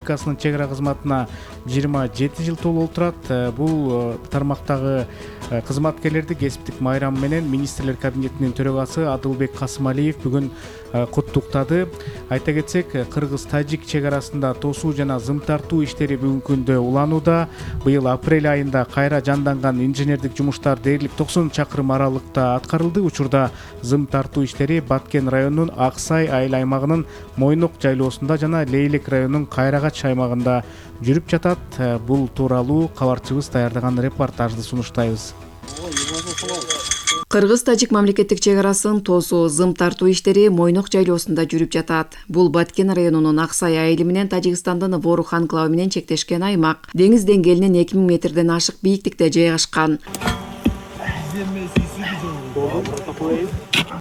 Республикасынын чек ара кызматына 27 жыл толуп турат. Бул тармактагы кызматкерлерди кесиптик майрамы менен министрлер кабинетинин төрагасы Адылбек Касымалиев бүгүн куттуктады. Айта кетсек, кыргыз-тажик чек арасында тосуу жана зым тартуу иштери бүгүнкү күндө уланууда. Быйыл апрель айында кайра жанданган инженердик жумуштар дээрлик 90 чакырым аралыкта аткарылды. Учурда зым тартуу иштери Баткен районунун Ак Сай айыл аймагынын Мойнок жайлоосунда жана Лейлек районунун Кайрагач аймагында жүрүп жатат. Бул тууралуу кабарчыбыз даярдаган репортажды сунуштайбыз. Кыргыз-тажик мамлекеттик чек арасын тосуу зым тартуу иштери Мойнок жайлоосунда жүрүп жатат. Бул Баткен районунун Ак Сай айылы менен Тажикстандын Ворух анклавы менен чектешкен аймак. Деңиз деңгээлинен 2000 метрден ашык бийиктикте жайгашкан.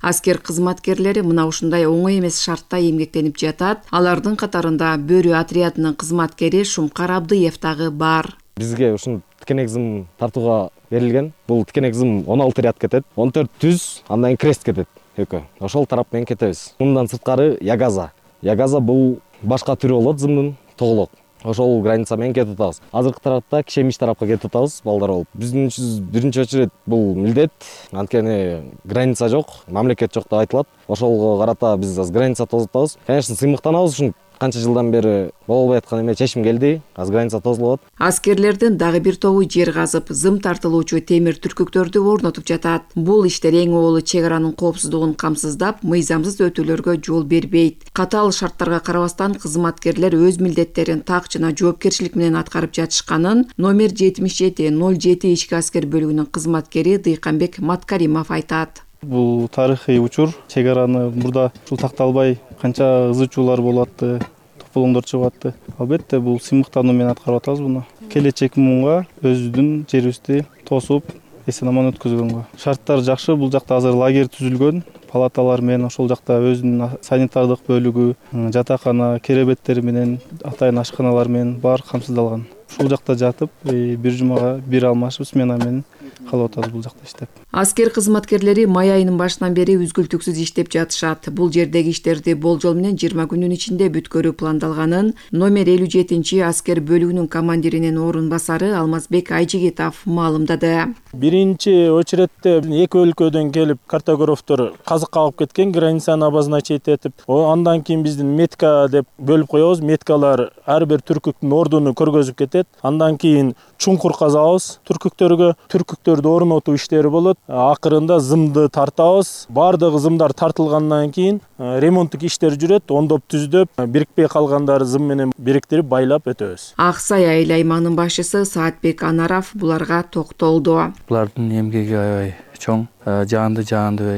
Аскер кызматкерлери мына ушундай оңой эмес шартта эмгектенип жатат. Алардын катарында Бөрү отрядынын кызматкери Шумкар Абдыев дагы бар. Бизге ушун тикенек зым тартууга берилген. Бул тикенек зым 16 ряд кетет, 14 түз, андан кийин крест кетет экөө. Ошол тарап менен кетебиз. Мындан сырткары ягаза. Ягаза бул башка түрү болот зымдын, тоголок. Ошол граница менен кетип атабыз. Азыркы тарапта Кишемиш тарапка кетип атабыз, балдар болуп. Биздин биринчи очередь бул милдет. Анткени граница жок, мамлекет жок деп айтылат. Ошолго карата биз аз граница тосуп атабыз. Конечно, сыймыктанабыз ушун канча жылдан бери боло албай аткан эме чечим келди. Аз граница тосулуп атат. Аскерлердин дагы бир тобу жер казып, зым тартылуучу темир түркүктөрдү орнотуп жатат. Бул иштер эң оолу чек аранын коопсуздугун камсыздап, мыйзамсыз өтүүлөргө жол бербейт. Катаал шарттарга карабастан кызматкерлер өз милдеттерин так жана жоопкерчилик менен аткарып жатышканын номер 7707 ички аскер бөлүгүнүн кызматкери Дыйканбек Маткаримов айтат. Бул тарыхый учур. Чек араны мурда ушул такталбай канча ызы чуулар болуп атты, тополоңдор чыгып атты. Албетте бул сыймыктануу менен аткарып атабыз буну. Келечек муунга өзүбүздүн жерибизди тосуп, эсен-аман өткөзгөнгө. Шарттар жакшы. Бул жакта азыр лагерь түзүлгөн. Палаталар менен ошол жакта өзүнүн санитардык бөлүгү, жатакана, керебеттери менен, атайын ашканалар менен баары камсыздалган. Ушул жакта жатып, бир жумага бир алмашып смена менен калып атабыз бул жакта иштеп. Аскер кызматкерлери май айынын башынан бери үзгүлтүксүз иштеп жатышат. Бул жердеги иштерди болжол менен 20 күнүн ичинде бүткөрүү пландалганын номер 57 аскер бөлүгүнүн командиринин орун басары Алмазбек Айжигитов маалымдады. Биринчи очередте эки өлкөдөн келип картографтор казык кагып кеткен, границаны обозначить этип, андан кийин биздин метка деп бөлүп коебуз. Меткалар ар бир түркүктүн ордуну көргөзүп кетет. Андан кийин чуңкур казабыз түркүктөргө. Түркүктөрдү орнотуу иштери болот. Акырында зымды тартабыз. Баардыгы зымдар тартылгандан кийин ремонттук иштер жүрөт. Ондоп түздөп, бирикпей калгандары зым менен бириктирип байлап өтөбүз. Ак Сай айыл аймагынын башчысы Саатбек Анаров буларга токтолду. Булардын эмгеги аябай чоң. Жаанды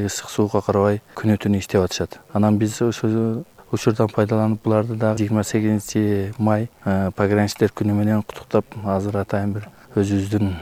ысык суукка карабай күнү-түнү иштеп атышат. Анан биз ошол учурдан пайдаланып буларды да 28 май пограничтер күнү менен куттуктап, азыр атайын бир өзүбүздүн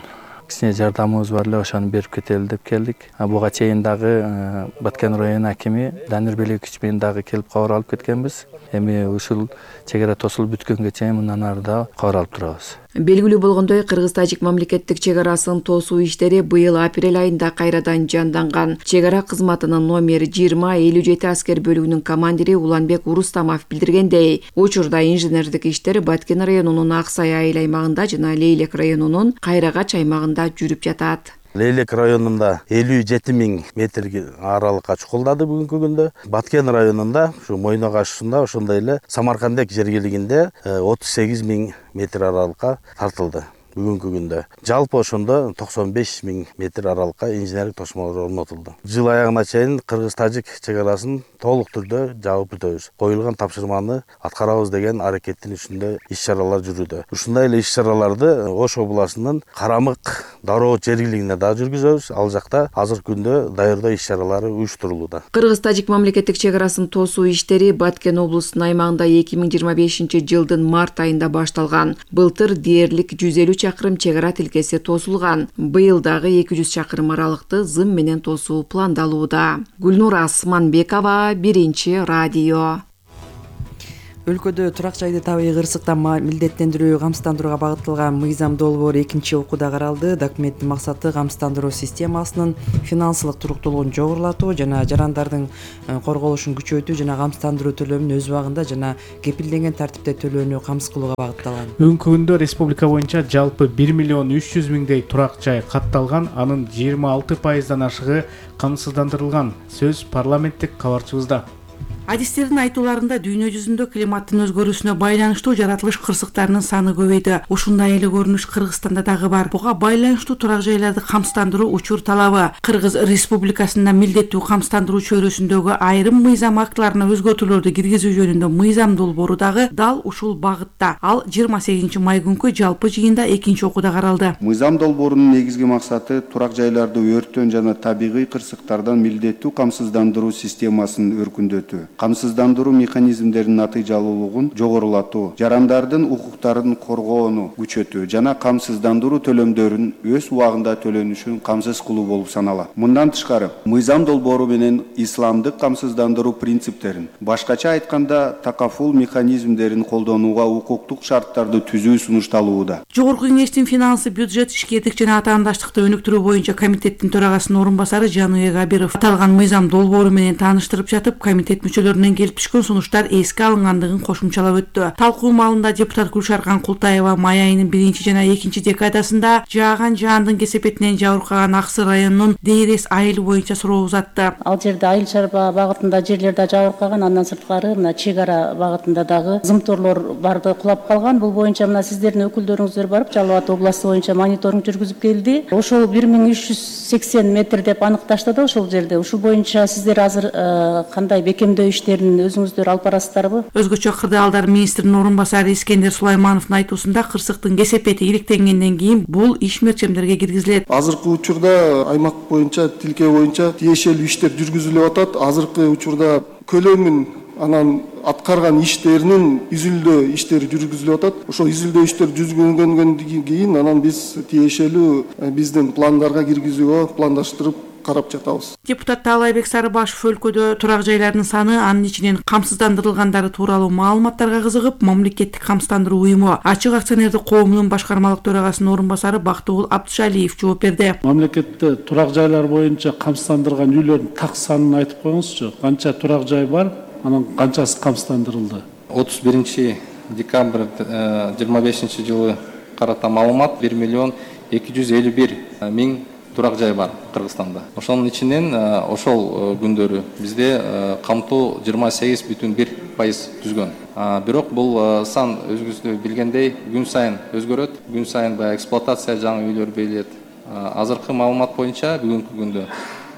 кичине жардамыбыз бар эле, ошону берип кетели деп келдик. Буга чейин дагы Баткен район акими Данир Белекович менен дагы келип кабар алып кеткенбиз. Эми ушул чек ара тосулуп бүткөнгө чейин мындан ары да кабар алып турабыз. Белгилүү болгондой, кыргыз-тажик мамлекеттик чек арасын тосуу иштери быйыл апрель айында кайрадан жанданган. Чек ара кызматынын номер 2057 аскер бөлүгүнүн командири Уланбек Урустамов билдиргендей, учурда инженердик иштер Баткен районунун Ак Сай айыл аймагында жана Лейлек районунун Кайрагач аймагында жүрүп жатат. Лейлек районунда 57 000 метр аралыкка чукулдады бүгүнкү күндө. Баткен районунда, ушу Мойнок ашуусунда, ошондой эле Самаркандек жергилигинде 38 000 метр аралыкка тартылды бүгүнкү күндө. Жалпы ошондо 95 000 метр аралыкка инженердик тосмолор орнотулду. Жыл аягына чейин кыргыз-тажик чек арасын толук түрдө жаап бүтөбүз. Коюлган тапшырманы аткарабыз деген аракеттин үстүндө иш-чаралар жүрүүдө. Ушундай эле иш-чараларды Ош областынын Карамык, Дароо жергилигинде да жүргүзөбүз. Ал жакта азыркы күндө даярдоо иш-чаралары уюштурулууда. Кыргыз-тажик мамлекеттик чек арасын тосуу иштери Баткен облусунун аймагында 2025 жылдын март айында башталган. Былтыр дээрлик 150 чакырым чек ара тилкеси тосулган. Быйыл дагы 200 чакырым аралыкты зым менен тосуу пландалууда. Гүлнур Асманбекова, Биринчи радио. Өлкөдө турак жайды табигый кырсыктан милдеттендирүүгө камсыздандырууга багытталган мыйзам долбоору экинчи окууда каралды. Документтин максаты камсыздандыруу системасынын финансылык туруктуулугун жогорулатуу жана жарандардын корголушун күчөтүү жана камсыздандыруу төлөмүн өз убагында жана кепилденген тартипте төлөөнү камсыз кылууга багытталган. Бүгүнкү күндө республика боюнча жалпы 1 миллион 300 миңдей турак жай катталган, анын 26%дан ашыгы камсыздандырылган. Сөз парламенттик кабарчыбызда. Адистердин айтууларында дүйнө жүзүндө климаттын өзгөрүүсүнө байланыштуу жаратылыш кырсыктарынын саны көбөйдү. Ушундай эле көрүнүш Кыргызстанда дагы бар. Буга байланыштуу турак жайларды камсыздандыруу учур талабы Кыргыз Республикасында милдеттүү камсыздандыруу чөйрөсүндөгү айрым мыйзам актыларына өзгөртүүлөрдү киргизүү жөнүндө мыйзам долбоору дагы дал ушул багытта. Ал 28 май күнкү жалпы жыйында экинчи окууда каралды. Мыйзам долбоорунун негизги максаты турак жайларды өрттөн жана табигый кырсыктардан милдеттүү камсыздандыруу системасын өркүндөтүү. Камсыздандыруу механизмдеринин натыйжалуулугун жогорулатуу, жарандардын укуктарын коргоону күчөтүү жана камсыздандыруу төлөмдөрүн өз убагында төлөнүшүн камсыз кылуу болуп саналат. Мындан тышкары, мыйзам долбоору менен исламдык камсыздандыруу принциптерин, башкача айтканда такафул механизмдерин колдонууга укуктук шарттарды түзүү сунушталууда. Жогорку кеңештин финансы, бюджет, ишкердик жана атаандаштыкты өнүктүрүү боюнча комитеттин төрагасынын орун басары Жаныбек Абиров аталган мыйзам долбоору менен тааныштырып жатып, комитет мүчөлөрүнөн келип түшкөн сунуштар эске алынгандыгын кошумчалап өттү. Талкуу маалында депутат Гүлшаркан Култаева май айынын 1 жана 2 декадасында жааган жаандын кесепетинен жабыркаган Аксы районунун Дейрес айылы боюнча суроо узатты. Ал жерде айыл чарба багытында жерлерде жабыркаган, андан сырткары мына чек ара багытында дагы зымторлор барды кулап калган. Бул боюнча мына сиздердин өкүлдөрүңүздөр барып Жалал Абад областы боюнча мониторинг жүргүзүп келди. Ошол 1380 метр деп аныкташты да ошол жерде. Ушул боюнча сиздер азыр кандай бекемдөө иштерин өзүңүздөр алып барасыздарбы? Өзгөчө кырдаалдар министринин орун басары Искендер Сулаймановдун айтуусунда кырсыктын кесепети иликтенгенден кийин бул иш мерчемдерге киргизилет. Азыркы учурда аймак боюнча, тилке боюнча тиешелүү иштер жүргүзүлүп атат. Азыркы учурда көлөмүн анан аткарган иштеринин изилдөө иштери жүргүзүлүп атат. Ошол изилдөө иштер жүргүзүлгөндөн кийин анан биз тиешелүү биздин пландарга киргизүүгө пландаштырып карап жатабыз. Депутат Таалайбек Сарыбашев өлкөдө турак жайлардын саны, анын ичинен камсыздандырылгандары тууралуу маалыматтарга кызыгып, мамлекеттик камсыздандыруу уюму Ачык акционердик коомунун башкармалык төрагасынын орун басары Бактыгул Абдышалиев жооп берди. Мамлекетте турак жайлар боюнча камсыздандырылган үйлөрдүн так санын айтып коюңузчу. Канча турак жай бар, анан канчасы камсыздандырылды? 31 декабрь 25 жылы карата маалымат 1 миллион 251 миң турак жай бар Кыргызстанда. Ошонун ичинен ошол күндөрү бизде камтуу 28,1% түзгөн. Бирок бул сан өзүңүз билгендей күн сайын өзгөрөт. Күн сайын баягы эксплуатация жаңы үйлөр берилет. Азыркы маалымат боюнча бүгүнкү күндө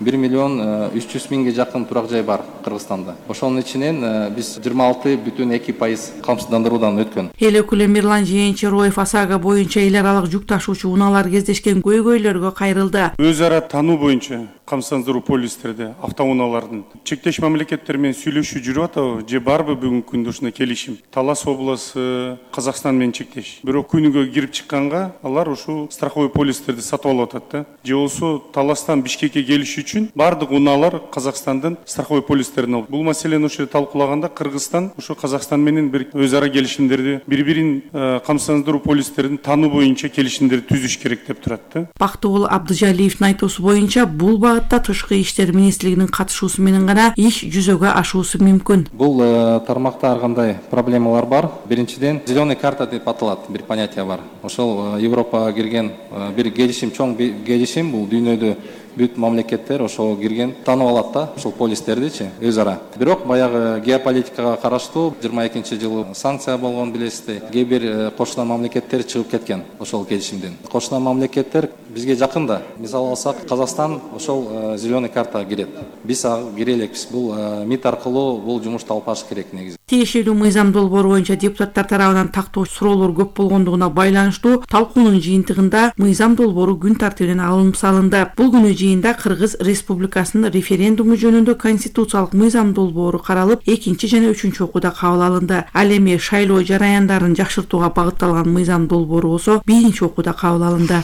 1 миллион 300 миңге жакын турак жай бар Кыргызстанда. Ошонун ичинен биз 26,2% камсыздандыруудан өткөн. Эл өкүлү Мирлан Жээнчероев ОСАГО боюнча эл аралык жүк ташуучу унаалар кездешкен көйгөйлөргө кайрылды. Өз ара тануу боюнча камсыздандыруу полистерде автоунаалардын чектеш мамлекеттер менен сүйлөшүү жүрүп атабы же барбы бүгүнкү күндө ушундай келишим? Талас областы Казакстан менен чектеш. Бирок күнүгө кирип чыкканга алар ушул страховой полистерди сатып алып атат да. Же болсо Таластан Бишкекке келиш үчүн бардык унаалар Казакстандын страховой полистерин алып. Бул маселени ошо талкуулаганда Кыргызстан ошо Казакстан менен бир өз ара келишимдерди, бири-бирин камсыздандыруу полистерин тануу боюнча келишимдерди түзүш керек деп турат да. Бактыгул Абдыжалиевдин айтуусу боюнча бул Тышкы иштер министрлигинин катышуусу менен гана иш жүзөгө ашуусу мүмкүн. Бул тармакта ар кандай проблемалар бар. Биринчиден, зеленый карта деп аталат бир понятие бар. Ошол Европага кирген бир келишим, чоң келишим, бул дүйнөдө бүт мамлекеттер ошол кирген, таанып алат да, ошол полистердичи өз ара. Бирок баягы геополитикага караштуу 22 жылы санкция болгон билесиздер. Кээ бир кошуна мамлекеттер чыгып кеткен ошол келишимден. Кошуна мамлекеттер бизге жакында. Мисал алсак, Казакстан ошол зеленый карта кирет. Биз кире элекпиз. Бул МИД аркылуу бул жумушту алып барыш керек негизи. Тиешелүү мыйзам долбоору боюнча депутаттар тарабынан тактоо суроолор көп болгондугуна байланыштуу талкуунун жыйынтыгында мыйзам долбоору күн тартибинен алынып салынды. Бул күнү жыйында Кыргыз Республикасынын референдуму жөнүндө конституциялык мыйзам долбоору каралып, 2 жана 3 окууда кабыл алынды. Ал эми шайлоо жараяндарын жакшыртууга багытталган мыйзам долбоору болсо 1 окууда кабыл алынды.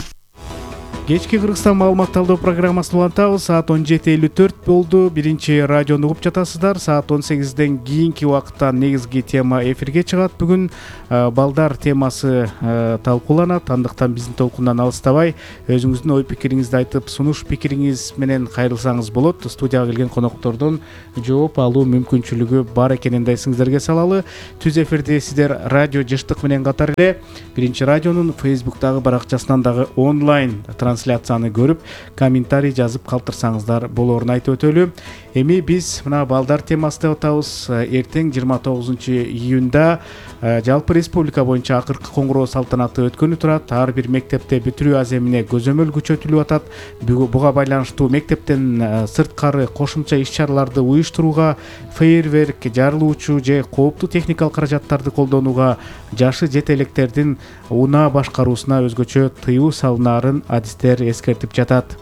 Кечки Кыргызстан маалымат талдоо программасын улантабыз. Саат 17:54 болду. Биринчи радиону угуп жатасыздар. Саат 18ден кийинки убакытта негизги тема эфирге чыгат. Бүгүн балдар темасы талкууланат. Андыктан биздин толкундан алыстабай, өзүңүздүн ой пикириңизди айтып, сунуш пикириңиз менен кайрылсаңыз болот. Студияга келген коноктордон жооп алуу мүмкүнчүлүгү бар экенин эсиңиздерге салалы. Түз эфирди сиздер радио Жыштык менен катар эле Биринчи радионун Facebook'тагы баракчасынан дагы онлайн трансляцияны көрүп, комментарий жазып калтырсаңыздар болоорун айтып өтөлү. Эми биз мына балдар темасы деп атабыз. Эртең 29 июнда жалпы республика боюнча акыркы коңгуроо салтанаты өткөнү турат. Ар бир мектепте бүтүрүү аземине көзөмөл күчөтүлүп атат. Буга байланыштуу мектептен сырткары кошумча иш-чараларды уюштурууга, фейерверк, жарылуучу же кооптуу техникалык каражаттарды колдонууга, жашы жете электердин унаа башкаруусуна өзгөчө тыюу салынаарын адистер эскертип жатат.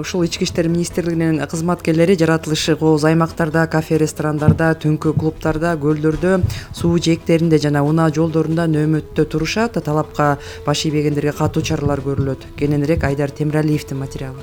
Ушул Ички иштер министрлигинин кызматкерлери жаратылышы кооз аймактарда, кафе, ресторандарда, түнкү клубтарда, көлдөрдө, суу жээктеринде жана унаа жолдорунда нөөмөттө турушат. Талапка баш ийбегендерге катуу чаралар көрүлөт. Кененирээк Айдар Темиралиевдин материалы.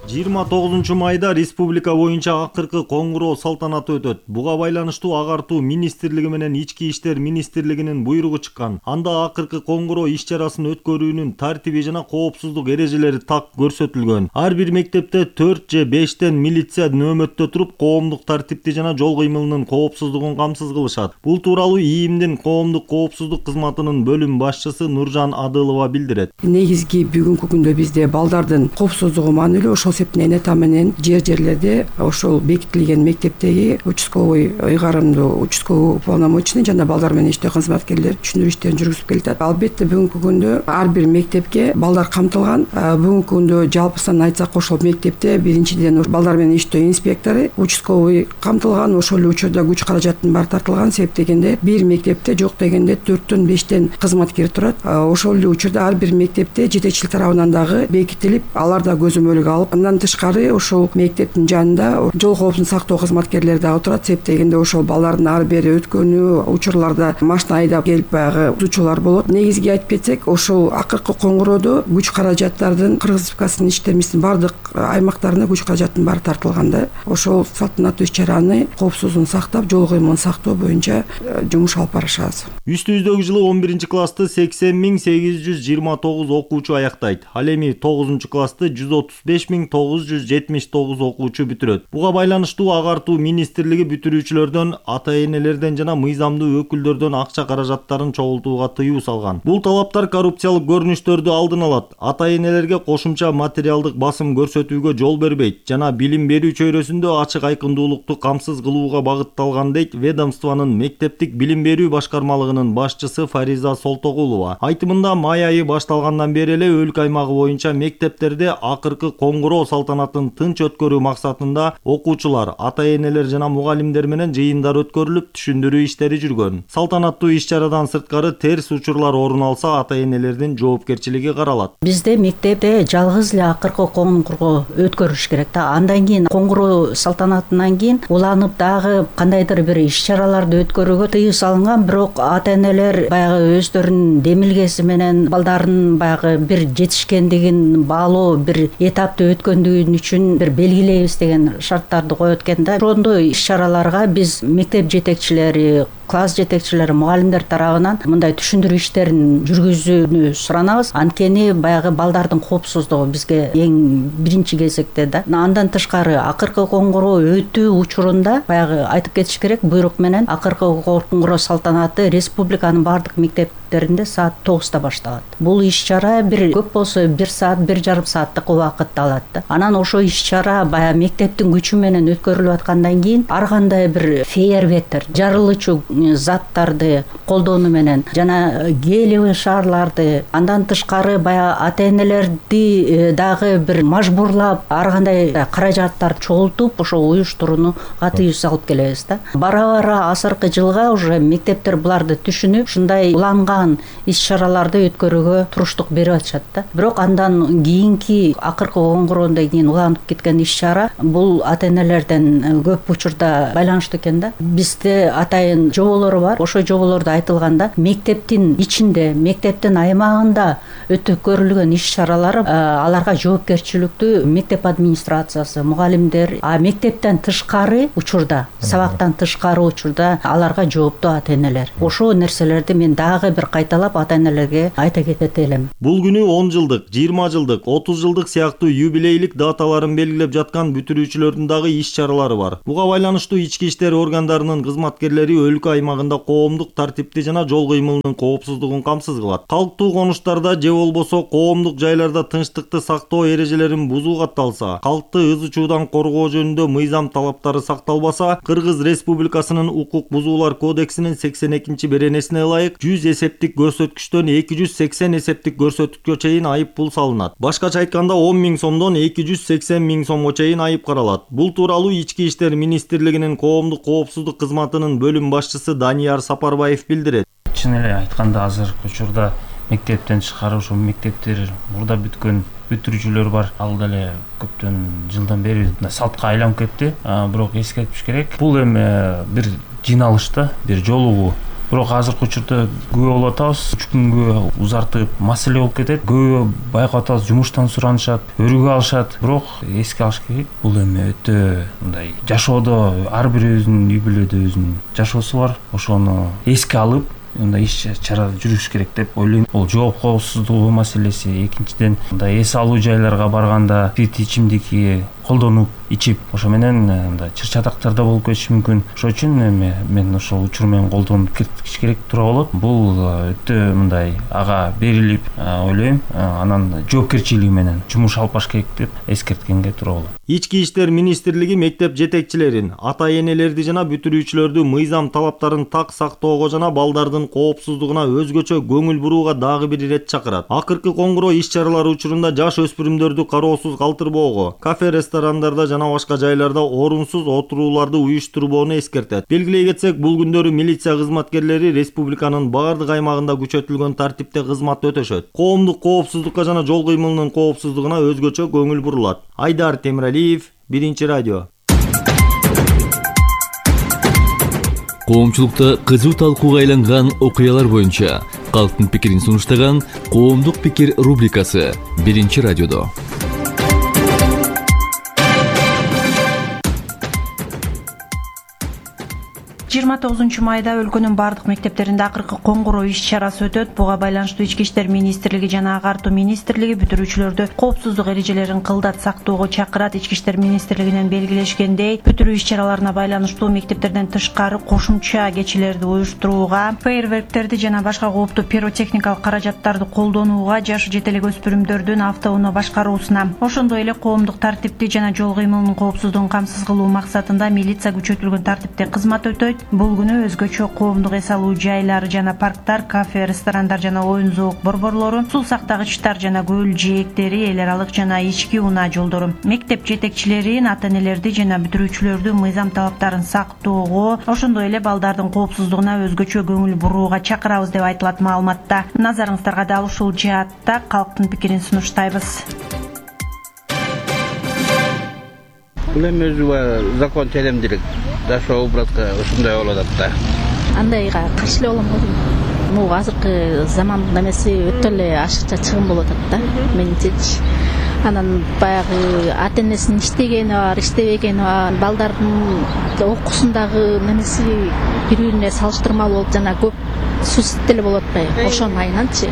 29 майда республика боюнча акыркы коңгуроо салтанаты өтөт. Буга байланыштуу агартуу министрлиги менен Ички иштер министрлигинин буйругу чыккан. Анда акыркы коңгуроо иш-чарасын өткөрүүнүн тартиби жана коопсуздук эрежелери так көрсөтүлгөн. Ар бир мектепте 4 же 5тен милиция нөөмөттө туруп, коомдук тартипти жана жол кыймылынын коопсуздугун камсыз кылышат. Бул тууралуу ИИМдин коомдук коопсуздук кызматынын бөлүм башчысы Нуржан Адылова билдирет. Негизги бүгүнкү күндө бизде балдардын коопсуздугу маанилүү. Ошол септен эне менен жерлерде ошол бекитилген мектептеги участковый ыйгарымдуу участковый уполномоченный жана балдар менен иштөө кызматкерлер түшүндүрүү иштерин жүргүзүп келатат. Албетте бүгүнкү күндө ар бир мектепке балдар камтылган. Бүгүнкү күндө жалпысынан айтсак ошол мектепте биринчиден балдар менен иштөө инспектору, участковый камтылган. Ошол эле учурда күч каражаттын баары тартылган. Себеп дегенде бир мектепте жок дегенде 4төн 5тен кызматкер турат. Ошол эле учурда ар бир мектепте жетекчилик тарабынан дагы бекитилип, алар да көзөмөлгө алып, андан тышкары ошол мектептин жанында жол коопсуздугун сактоо кызматкерлери дагы турат. Себеп дегенде ошол балдардын ары бери өткөнү, учурларда машина айдап келип баягы учуулар болот. Негизги айтып кетсек, ошол акыркы коңгуроодо күч каражаттардын Кыргыз Республикасынын иштерибиздин бардык аймактарына күч каражаттын баары тартылганда, ошол салтанаттуу иш-чараны коопсуздугун сактап, жол кыймылын сактоо боюнча жумуш алып барышабыз. Үстүбүздөгү жылы 11 классты 80.829 окуучу аяктайт. Ал эми 9 классты 135.979 окуучу бүтүрөт. Буга байланыштуу агартуу министрлиги бүтүрүүчүлөрдөн, ата-энелерден жана мыйзамдуу өкүлдөрдөн акча каражаттарын чогултууга тыюу салган. Бул талаптар коррупциялык көрүнүштөрдү алдын алат. Ата-энелерге кошумча материалдык басым көрсөтүүгө жол бербейт жана билим берүү чөйрөсүндө ачык айкындуулукту камсыз кылууга багытталган дейт ведомствонун мектептик билим берүү башкармалыгынын башчысы Фариза Солтогулова. Айтымында май айы башталгандан бери эле өлкө аймагы боюнча мектептерде акыркы коңгуроо салтанатын тынч өткөрүү максатында окуучулар, ата-энелер жана мугалимдер менен жыйындар өткөрүлүп, түшүндүрүү иштери жүргөн. Салтанаттуу иш-чарадан сырткары терс учурлар орун алса, ата-энелердин жоопкерчилиги каралат. Бизде мектепте жалгыз эле акыркы коңгуроо өткөрүш керек да. Андан кийин коңгуроо салтанатынан кийин уланып дагы кандайдыр бир иш-чараларды өткөрүүгө тыюу салынган. Бирок ата-энелер баягы өздөрүнүн демилгеси менен балдардын баягы бир жетишкендигин баалоо, бир этапты өткөндүгүн үчүн бир белгилейбиз деген шарттарды коет экен да. Ошондой иш-чараларга биз мектеп жетекчилери, класс жетекчилери, мугалимдер тарабынан мындай түшүндүрүү иштерин жүргүзүүнү суранабыз. Анткени баягы балдардын коопсуздугу бизге эң биринчи кезекте да. Андан тышкары акыркы коңгуроо өтүү учурунда баягы айтып кетиш керек, буйрук менен акыркы коңгуроо салтанаты республиканын бардык мектептеринде саат 9-та башталат. Бул иш-чара бир көп болсо 1 саат, 1,5 сааттык убакытты алат да. Анан ошо иш-чара баягы мектептин күчү менен өткөрүлүп аткандан кийин ар кандай бир фейерверктер, жарылуучу заттарды колдонуу менен жана гелиевый шарларды, андан тышкары баягы ата-энелерди дагы бир мажбурлап ар кандай каражаттарды чогултуп ошо уюштурууга тыюу салып келебиз да. Бара-бара азыркы жылга уже мектептер буларды түшүнүп, ушундай уланган аймагын иш чараларды өткөрүүгө туруштук берип атышат да. Бирок андан кийинки акыркы коңгуроодон кийин уланып кеткен иш чара бул ата-энелерден көп учурда байланыштуу экен да. Бизде атайын жоболор бар. Ошо жоболордо айтылганда мектептин ичинде, мектептин аймагында өткөрүлгөн иш чаралар аларга жоопкерчиликтүү мектеп администрациясы, мугалимдер, мектептен тышкары учурда, сабактан тышкары учурда аларга жооптуу ата-энелер. Ошо нерселерди мен дагы бир кайталап ата-энелерге айта кетет элем. Бул күнү 10 жылдык, 20 жылдык, 30 жылдык сыяктуу юбилейлик даталарын белгилеп жаткан бүтүрүүчүлөрдүн дагы иш чаралары бар. Буга байланыштуу ички иштер органдарынын кызматкерлери өлкө аймагында коомдук тартипти жана жол кыймылынын коопсуздугун камсыз кылат. Калктуу конуштарда же болбосо коомдук жайларда тынчтыкты сактоо эрежелерин бузуу катталса, калкты ыз учуудан коргоо жөнүндө мыйзам талаптары сакталбаса, Кыргыз Республикасынын укук бузуулар кодексинин 82-беренесине ылайык 100 эсептик көрсөткүчтөн 280 эсептик көрсөткүчкө чейин айып пул салынат. Башкача айтканда 10 000 сомдон 280 000 сомго чейин айып каралат. Бул тууралуу Ички иштер министрлигинин коомдук коопсуздук кызматынын бөлүм башчысы Данияр Сапарбаев билдирет. Чын эле айтканда азыркы учурда мектептен тышкары ошо мектептер мурда бүткөн бүтүрүүчүлөр бар. Ал деле көптөн жылдан бери салтка айланып кетти. Бирок эскертиш керек. Бул эми бир жиналыш да, бир жолугуу. Бирок азыркы учурда күбө болуп атабыз. 3 күнгө узартып маселе болуп кетет. Күбө байкап атабыз, жумуштан суранышат, өргө алышат. Бирок эске алыш керек. Бул эми өтө мындай жашоодо ар бирибиздин үй бүлөдө өзүнүн жашоосу бар. Ошону эске алып мындай иш чара жүрүш керек деп ойлойм. Бул жооп коопсуздугу маселеси. Экинчиден мындай эс алуу жайларга барганда спирт ичимдикти колдонуп ичип, ошо менен мындай чыр-чатактарда болуп кетиши мүмкүн. Ошол үчүн эми мен ошол учур менен колдонуп кетиш керек туура болот. Бул өтө мындай ага берилип ойлойм, анан жоопкерчилиги менен жумуш алып баш керек деп эскерткенге туура болот. Ички иштер министрлиги мектеп жетекчилерин, ата-энелерди жана бүтүрүүчүлөрдү мыйзам талаптарын так сактоого жана балдардын коопсуздугуна өзгөчө көңүл бурууга дагы бир ирет чакырат. Акыркы коңгуроо иш чаралары учурунда жаш өспүрүмдөрдү кароосуз калтырбоого, кафе, ресторандарда жана башка жайларда орунсуз отурууларды уюштурбоону эскертет. Белгилей кетсек, бул күндөрү милиция кызматкерлери республиканын баардык аймагында күчөтүлгөн тартипте кызмат өтөшөт. Коомдук коопсуздукка жана жол кыймылынын коопсуздугуна өзгөчө көңүл бурулат. Айдар Темиралиев, Биринчи радио. Коомчулукта кызуу талкууга айланган окуялар боюнча калктын пикирин сунуштаган Коомдук пикир рубрикасы Биринчи радиодо. 29 майда өлкөнүн бардык мектептеринде акыркы коңгуроо иш чарасы өтөт. Буга байланыштуу Ички иштер министрлиги жана Агартуу министрлиги бүтүрүүчүлөрдү коопсуздук эрежелерин кылдат сактоого чакырат. Ички иштер министрлигинен белгилешкендей, бүтүрүү иш чараларына байланыштуу мектептерден тышкары кошумча кечелерди уюштурууга, фейерверктерди жана башка кооптуу пиротехникалык каражаттарды колдонууга, жашы жете элек өспүрүмдөрдүн автоунаа башкаруусуна, ошондой эле коомдук тартипти жана жол кыймылынын коопсуздугун камсыз кылуу максатында милиция күчөтүлгөн тартипте кызмат өтөйт. Бул күнү өзгөчө коомдук эс алуу жайлары жана парктар, кафе, ресторандар жана оюн зоок борборлору, суу сактагычтар жана көл жээктери, эл аралык жана ички унаа жолдору, мектеп жетекчилерин, ата-энелерди жана бүтүрүүчүлөрдү мыйзам талаптарын сактоого, ошондой эле балдардын коопсуздугуна өзгөчө көңүл бурууга чакырабыз деп айтылат маалыматта. Назарыңыздарга дал ушул жаатта калктын пикирин сунуштайбыз. Бул эми өзү закон телемдилик жашоо братка ушундай болуп атат да. Андайга каршы эле болом го дейм. Могу азыркы замандын немеси өтө эле ашыкча чыгым болуп атат да, менимчечи. Анан баягы ата-энесинин иштегени бар, иштебегени бар, балдардын окуусундагы немеси бири-бирине салыштырмалуу болуп жана көп суицид деле болуп атпайбы, ошонун айынан,чы.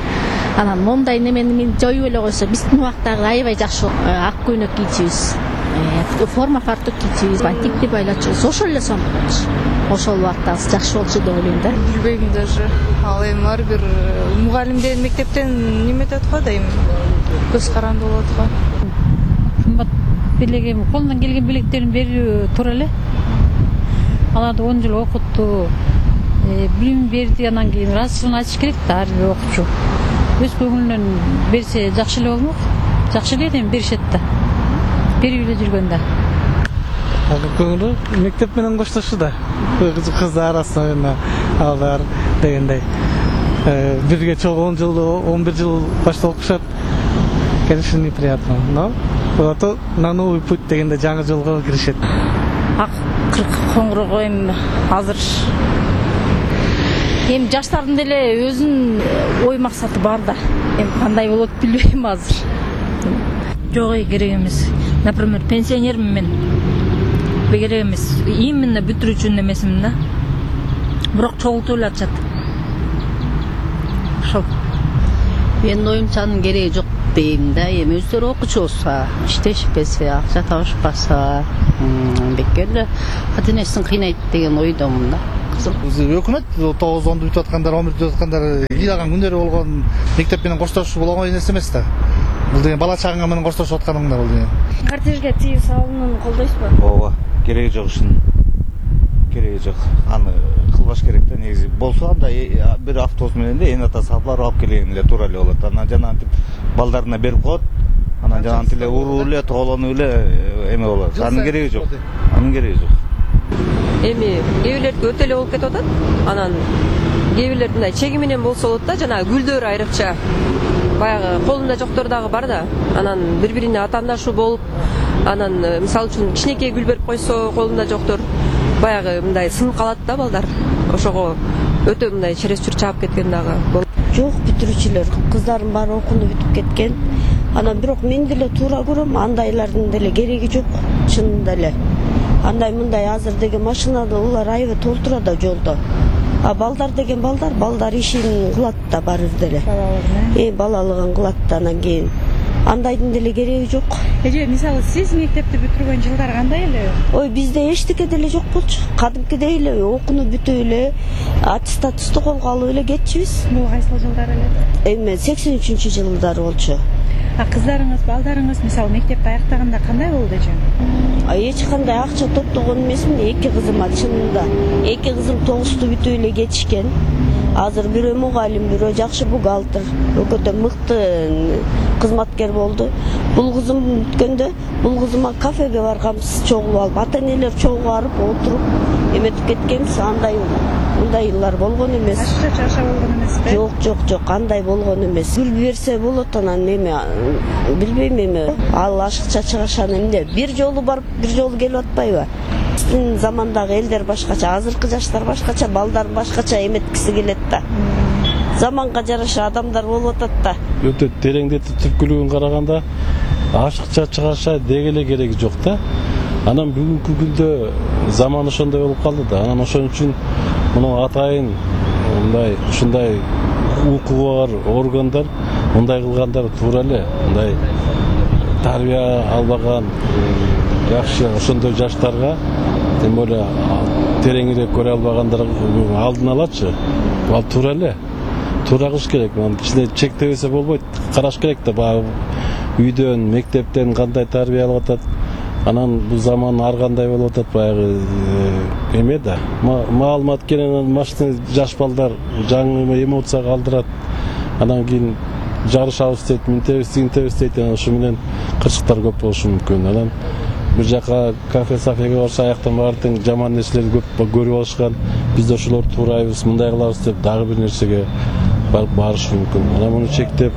Анан моундай немени жоюп эле койсо, биздин убактагы аябай жакшы ак көйнөк кийчүбүз. Форма фартук кийчүбүз, бантикти байлачубуз, ошол эле сонун. Ошол убакта жакшы болчу деп ойлойм да. Билбейм даже. Ал эми ар бир мугалимден, мектептен неметет го дейм. Көз каранды болот го. Кымбат белегем, колунан келген белектерин берүү туура эле. Аларды 10 жыл окутту, билим берди, анан кийин ыраазычылыгын айтыш керек да ар бир окуучу. Өз көңүлүнөн берсе жакшы эле болмок. Жакшы эле эми беришет да. Берип эле жүргөндө. Көңүлү мектеп менен коштошуу да. Кыздар арасында алар дегендей. Бирге чогуу 10 жыл, 11 жыл башта окушат. Конечно, неприятно, но зато на новый путь дегенде жаңы жолго киришет. Коңгуроо эми азыр эми жаштардын деле өзүнүн ой максаты бар да. Эми кандай болот билбейм азыр. Жок, керек эмес. Например, пенсионермин мен. Керек эмес. Именно бүтүрүүчүнүн эмесмин да. Бирок чогултуп эле атышат. Ошол. Менин оюмча анын кереги жок дейм да. Эми өздөрү окуучу болсо, иштешпесе, акча табышпаса, бекер эле ата-энесин кыйнайт деген ойдомун да. Өкмөт 9-10 бүтүп аткандар, 11 бүтүп аткандар ыйлаган күндөрү болгон мектеп менен коштошуу бул оңой нерсе эмес да. Бул деген бала чагыңа менен коштошуп атканыңда бул деген. Кортежге тыюу салуунун колдойсузбу? Ооба, кереги жок ушунун. Кереги жок. Аны кылбаш керек да негизи. Болсо анда бир автобус менен да эне ата салып алып келген эле туура эле болот. Анан жана антип балдарына берип коет. Анан жана антип эле уруу эле, тоолонуп эле эме болот. Анын кереги жок. Анын кереги жок. Эми кээ бирлердики өтө эле болуп кетип атат. Анан кээ бирлердин мындай чеги менен болсо болот да, жана гүлдөр айрыкча. Баягы колунда жоктор дагы бар да. Анан бири-бирине атаандашуу болуп, анан мисалы үчүн кичинекей гүл берип койсо колунда жоктор баягы мындай сынып калат да балдар. Ошого өтө мындай через чүр чаап кеткен дагы болот. Жок, бүтүрүүчүлөр кыздардын баары окууну бүтүп кеткен. Анан бирок мен деле туура көрөм, андайлардын деле кереги жок, чынында эле. Андай мындай азыр деген машинада улар аябай толтура да жолдо. А балдар деген балдар ишин кылат да баары деле. Балалыгын кылат да анан кийин. Андайдын деле кереги жок. Эже, мисалы сиз мектепти бүтүргөн жылдар кандай эле? Ой, бизде эчтеке деле жок болчу. Кадимкидей эле окууну бүтүп эле, аттестатты колго алып эле кетчүбүз. Бул кайсыл жылдар эле? Эми 83-жылдары болчу. Кыздарыңыз, балдарыңыз мисалы мектепти аяктаганда кандай болду эже? Эч кандай акча топтогон эмесмин, эки кызыма чынында. Эки кызым 9-ту бүтүп эле кетишкен. Азыр бирөө мугалим, бирөө жакшы бухгалтер, өкөтө мыкты кызматкер болду. Бул кызым бүткөндө, бул кызыма кафеге барганбыз, чогулуп алып, ата-энелер чогуу барып отуруп эметип кеткенбиз. Мындай жылдар болгон эмес. Ашыкча чаша болгон эмеспи? Жок, андай болгон эмес. Гүл берсе болот, анан эме билбейм эме. Ал ашыкча чыгашаны эмне? Бир жолу барып, бир жолу келип атпайбы? Биздин замандагы элдер башкача, азыркы жаштар башкача, балдар башкача эметкиси келет да. Заманга жараша адамдар болуп атат да. Өтө тереңдетип түпкүлүгүн караганда ашыкча чыгаша деги эле кереги жок да. Анан бүгүнкү күндө заман ошондой болуп калды да. Анан ошон үчүн мына атайын мындай ушундай укугу бар органдар мындай кылгандар туура эле. Мындай тарбия албаган жакшы ошондой жаштарга, тем более тереңирээк көрө албагандарга алдын алачы. Ал туура эле. Туура кылыш керек. Кичине чектебесе болбойт. Караш керек да, баягы үйдөн, мектептен кандай тарбия алып атат. Анан бул заман ар кандай болуп атат, баягы эме да. Маалымат келен машина жаш балдар жаңы эмоция калтырат. Анан кийин жарышабыз дейт, минтебиз дейт. Ошо менен кырсыктар көп болушу мүмкүн. Анан бир жака кафе-сафеге барса аяктан баардык жаман нерселерди көп көрүп алышкан. Биз да ошолорду туурайбыз, мындай кылабыз деп дагы бир нерсеге барышы мүмкүн. Анан муну чектеп,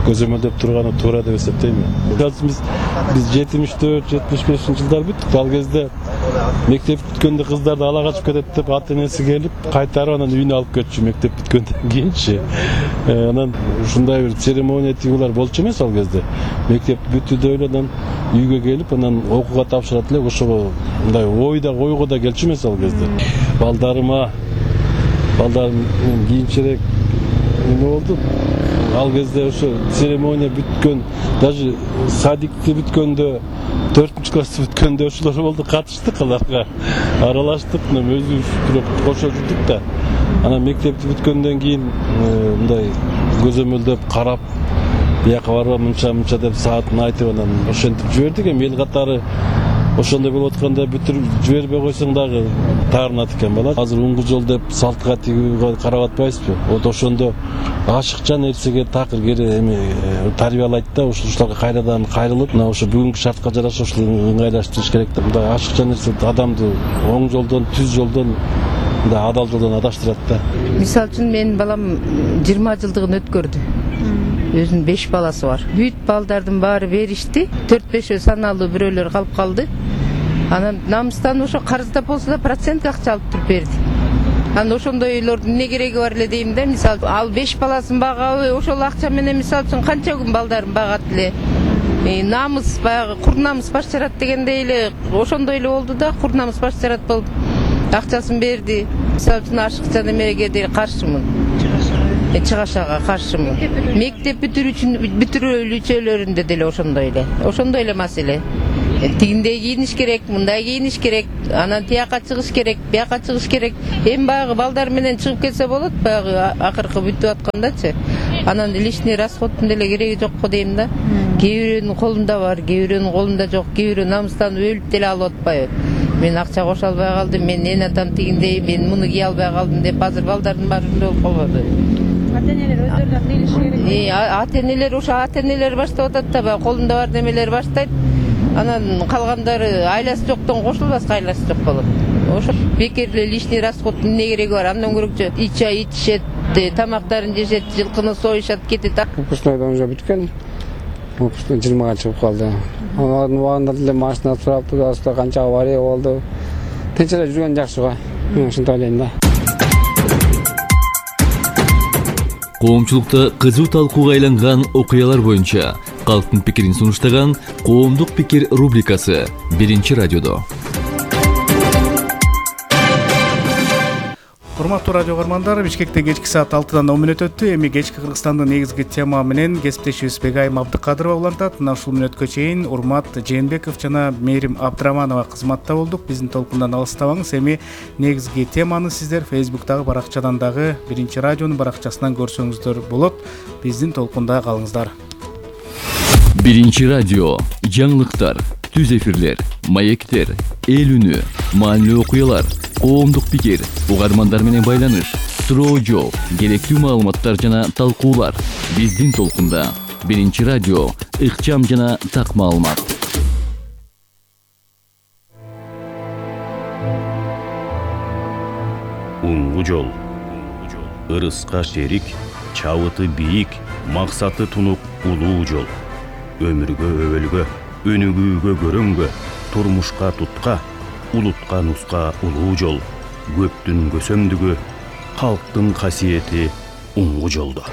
көзөмөлдөп турганы туура деп эсептейм. Биз 74-75 жылдар бүттүк. Ал кезде мектеп бүткөндө кыздарды ала качып кетет деп ата-энеси келип, кайтарып анан үйүнө алып кетчү мектеп бүткөндөн кийинчи. Анан ушундай бир церемония тигулар болчу эмес ал кезде. Мектеп бүтүүдө эле анан үйгө келип, анан окууга тапшырат эле, ошого мындай ойго да келчү эмес ал кезде. Балдарым кийинчерээк эме болду. Ал кезде ошо церемония бүткөн, даже садикти бүткөндө, 4-классы бүткөндө ошолор болду, катыштык аларга. Аралаштык, өзүбүз бирок кошо жүрдүк да. Анан мектепти бүткөндөн кийин мындай көзөмөлдөп карап, бияка барба мынча деп саатын айтып анан ошентип жибердик. Эми эл катары ошондой болуп атканда бүтүрүп жибербей койсоң дагы таарынат экен бала. Азыр уңгу жол деп салтка тигүүгө карап атпайбызбы? Вот ошондо ашыкча нерсеге такыр кери эми тарбиялайт да, ушуларга кайрадан кайрылып, мына ошо бүгүнкү шартка жараша ушул ыңгайлаштырыш керек да. Мындай ашыкча нерсе адамды оң жолдон, түз жолдон мындай адал жолдон адаштырат да. Мисалы үчүн менин балам 20 жылдыгын өткөрдү. Өзүнүн 5 баласы бар. Бүт балдардын баары беришти. 4-5 саналуу бирөөлөр калып калды. Анан намыстан ошо карызда болсо да процент акча алып туруп берди. Анан ошондой үйлөрдүн эмне кереги бар эле дейм да. Мисалы ал 5 баласын багабы, ошол акча менен мисалы үчүн канча күн балдарын багат эле. Намыс баягы кур намыс баш жарат дегендей эле ошондой эле болду да, кур намыс баш жарат болуп акчасын берди. Мисалы үчүн ашыкча немеге деле каршымын. Чыгашага каршымын. Мектеп бүтүрүүчүлөрүндө деле ошондой эле маселе. Тигиндей кийиниш керек, мындай кийиниш керек, анан тияка чыгыш керек, бияка чыгыш керек. Эми баягы балдар менен чыгып кетсе болот, баягы акыркы бүтүп аткандачы. Анан лишний расходтун деле кереги жок го дейм да. Кээ бирөөнүн колунда бар, кээ бирөөнүн колунда жок, кээ бирөө намыстан өлүп деле алып атпайбы. Мен акча кошо албай калдым, мен эн атам тигиндей, мен муну кие албай калдым деп азыр балдардын баары ошондой болуп калбады. Ата-энелер өздөрү да кыйылышы керек. Ата-энелер ошо ата-энелер баштап атат да, баягы колунда бар немелер баштайт. Анан калгандары айласы жоктон кошулбаска айласы жок болот. Ошо бекер эле лишний расходтун эмне кереги бар? Андан көрөкчү чай ичишет, тамактарын жешет, жылкыны союшат, кетет. Выпускнойдон уже бүткөн. Выпускной 20-га чыгып калды. Анын убагында деле машина турапты, аста канча авария болду. Тынч эле жүргөн жакшы го. Мен ушинтип ойлойм да. Коомчулукта кызуу талкууга айланган окуялар боюнча калктын пикирин сунуштаган Коомдук пикир рубрикасы 1-радиодо. Урматтуу радио көрөрмандар, Бишкекте кечки саат 6-дан 10 мүнөт өттү. Эми кечки Кыргызстандын негизги тема менен кесиптешибиз Бегайым Абдыкадырова улантат. Мына ушул мүнөткө чейин Урмат Жээнбеков жана Мээрим Абдыраманова кызматта болдук. Биздин толкундан алыстабаңыз. Эми негизги теманы сиздер Facebook'тагы баракчадан дагы 1-радионун баракчасынан көрсөңүздөр болот. Биздин толкунда калыңыздар. 1-радио, жаңылыктар, түз эфирлер, маектер, эл үнү, маанилүү окуялар, коомдук пикир, угармандар менен байланыш, суроо жооп, керектүү маалыматтар жана талкуулар. Биздин толкунда 1-радио, ыкчам жана так маалымат. Уңгу жол. Ырыска шерик, чабыты бийик, максаты тунук улуу жол. Өмүргө өбөлгө, өнүгүүгө көрөнгө, турмушка тутка, улутка нуска улуу жол. Көптүн көсөмдүгү, калктын касиети уңгу жолдо.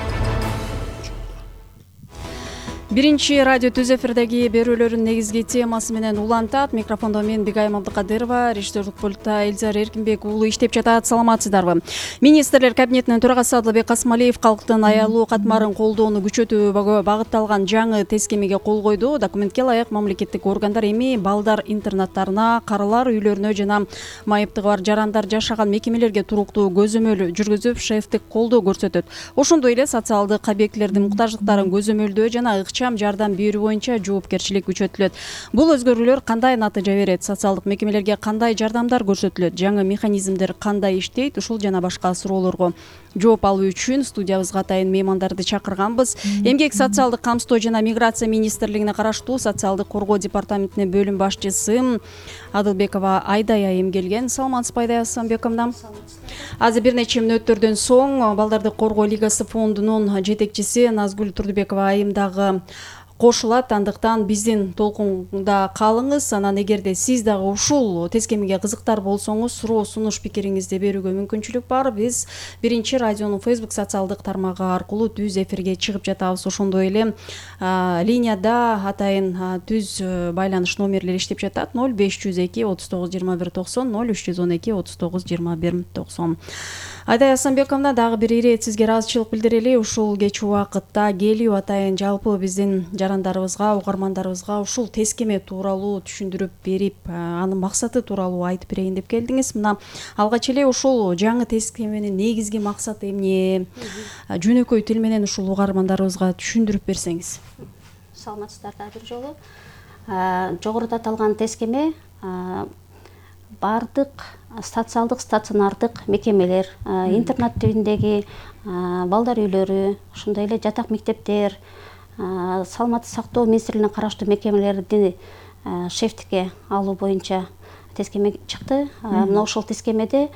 1-радио түз эфирдеги берүүлөрүн негизги темасы менен улантат. Микрофондо мен Бегайым Абдыкадырова, режиссерлук пультта Эльзар Эркинбек уулу иштеп жатат. Саламатсыздарбы? Министрлер кабинетинин төрагасы Адылбек Касымалиев калктын аялуу катмарын колдоону күчөтүүгө багытталган жаңы тескемеге кол койду. Документке ылайык мамлекеттик органдар эми балдар интернаттарына, карылар үйлөрүнө жана майыптыгы бар жарандар жашаган мекемелерге туруктуу көзөмөл жүргүзүп, шефтик колдоо көрсөтөт. Ошондой эле социалдык объектилердин муктаждыктарын көзөмөлдөө жана жардам берүү боюнча жоопкерчилик күчөтүлөт. Бул өзгөрүүлөр кандай натыйжа берет? Социалдык мекемелерге кандай жардамдар көрсөтүлөт? Жаңы механизмдер кандай иштейт? Ушул жана башка суроолорго жооп алуу үчүн студиябызга атайын меймандарды чакырганбыз. Эмгек социалдык камсыздоо жана миграция министрлигине караштуу социалдык коргоо департаментинин бөлүм башчысы Адылбекова Айдай айым келген. Саламатсызбы Айдай Асанбековна? Азыр бир нече мүнөттөрдөн соң Балдарды коргоо лигасы фондунун жетекчиси Назгүл Турдубекова айым дагы кошулат. Андыктан биздин толкунда калыңыз. Анан эгерде сиз дагы ушул тескемеге кызыктар болсоңуз, суроо сунуш пикириңизди берүүгө мүмкүнчүлүк бар. Биз 1-радионун Facebook социалдык тармагы аркылуу түз эфирге чыгып жатабыз. Ошондой эле линияда атайын түз байланыш номерлери иштеп жатат. 0502 39 21 90, 0312 39 21 90. Айдай Асанбековна, дагы бир ирет сизге ыраазычылык билдирели. Ушул кеч убакытта келүү атайын жалпы биздин жарандарыбызга, угармандарыбызга ушул тескеме тууралуу түшүндүрүп берип, анын максаты тууралуу айтып берейин деп келдиңиз. Мына алгач эле ушул жаңы тескеменин негизги максаты эмне? Жөнөкөй тил менен ушул угармандарыбызга түшүндүрүп берсеңиз. Саламатсыздарбы бир жолу. Жогоруда аталган тескеме бардык социалдык стационардык мекемелер, интернат тибиндеги балдар үйлөрү, ошондой эле жатак мектептер, саламаттык сактоо министрлигине караштуу мекемелерди шефтикке алуу боюнча тескеме чыкты. Мына ошол тескемеде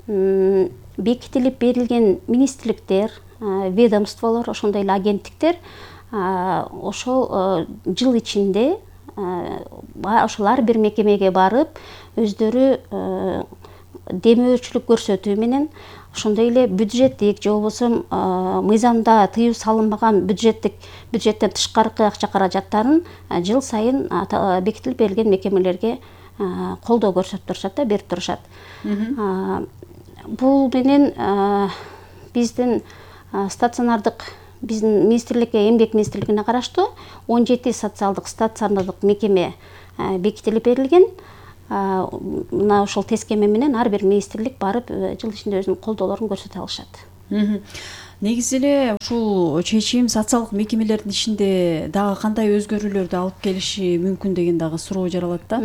бекитилип берилген министрликтер, ведомстволор, ошондой эле агенттиктер ошол жыл ичинде ошол ар бир мекемеге барып өздөрү демөөчүлүк көрсөтүү менен ошондой эле бюджеттик же болбосо мыйзамда тыюу салынбаган бюджеттен тышкаркы акча каражаттарын жыл сайын бекитилип берилген мекемелерге колдоо көрсөтүп турушат да, берип турушат. Бул менен биздин стационардык биздин министрликке, эмгек министрлигине караштуу 17 социалдык стационардык мекеме бекитилип берилген. Мына ошол тескеме менен ар бир министрлик барып жыл ичинде өзүнүн колдоолорун көрсөтө алышат. Негизи эле ушул чечим социалдык мекемелердин ичинде дагы кандай өзгөрүүлөрдү алып келиши мүмкүн деген дагы суроо жаралат да.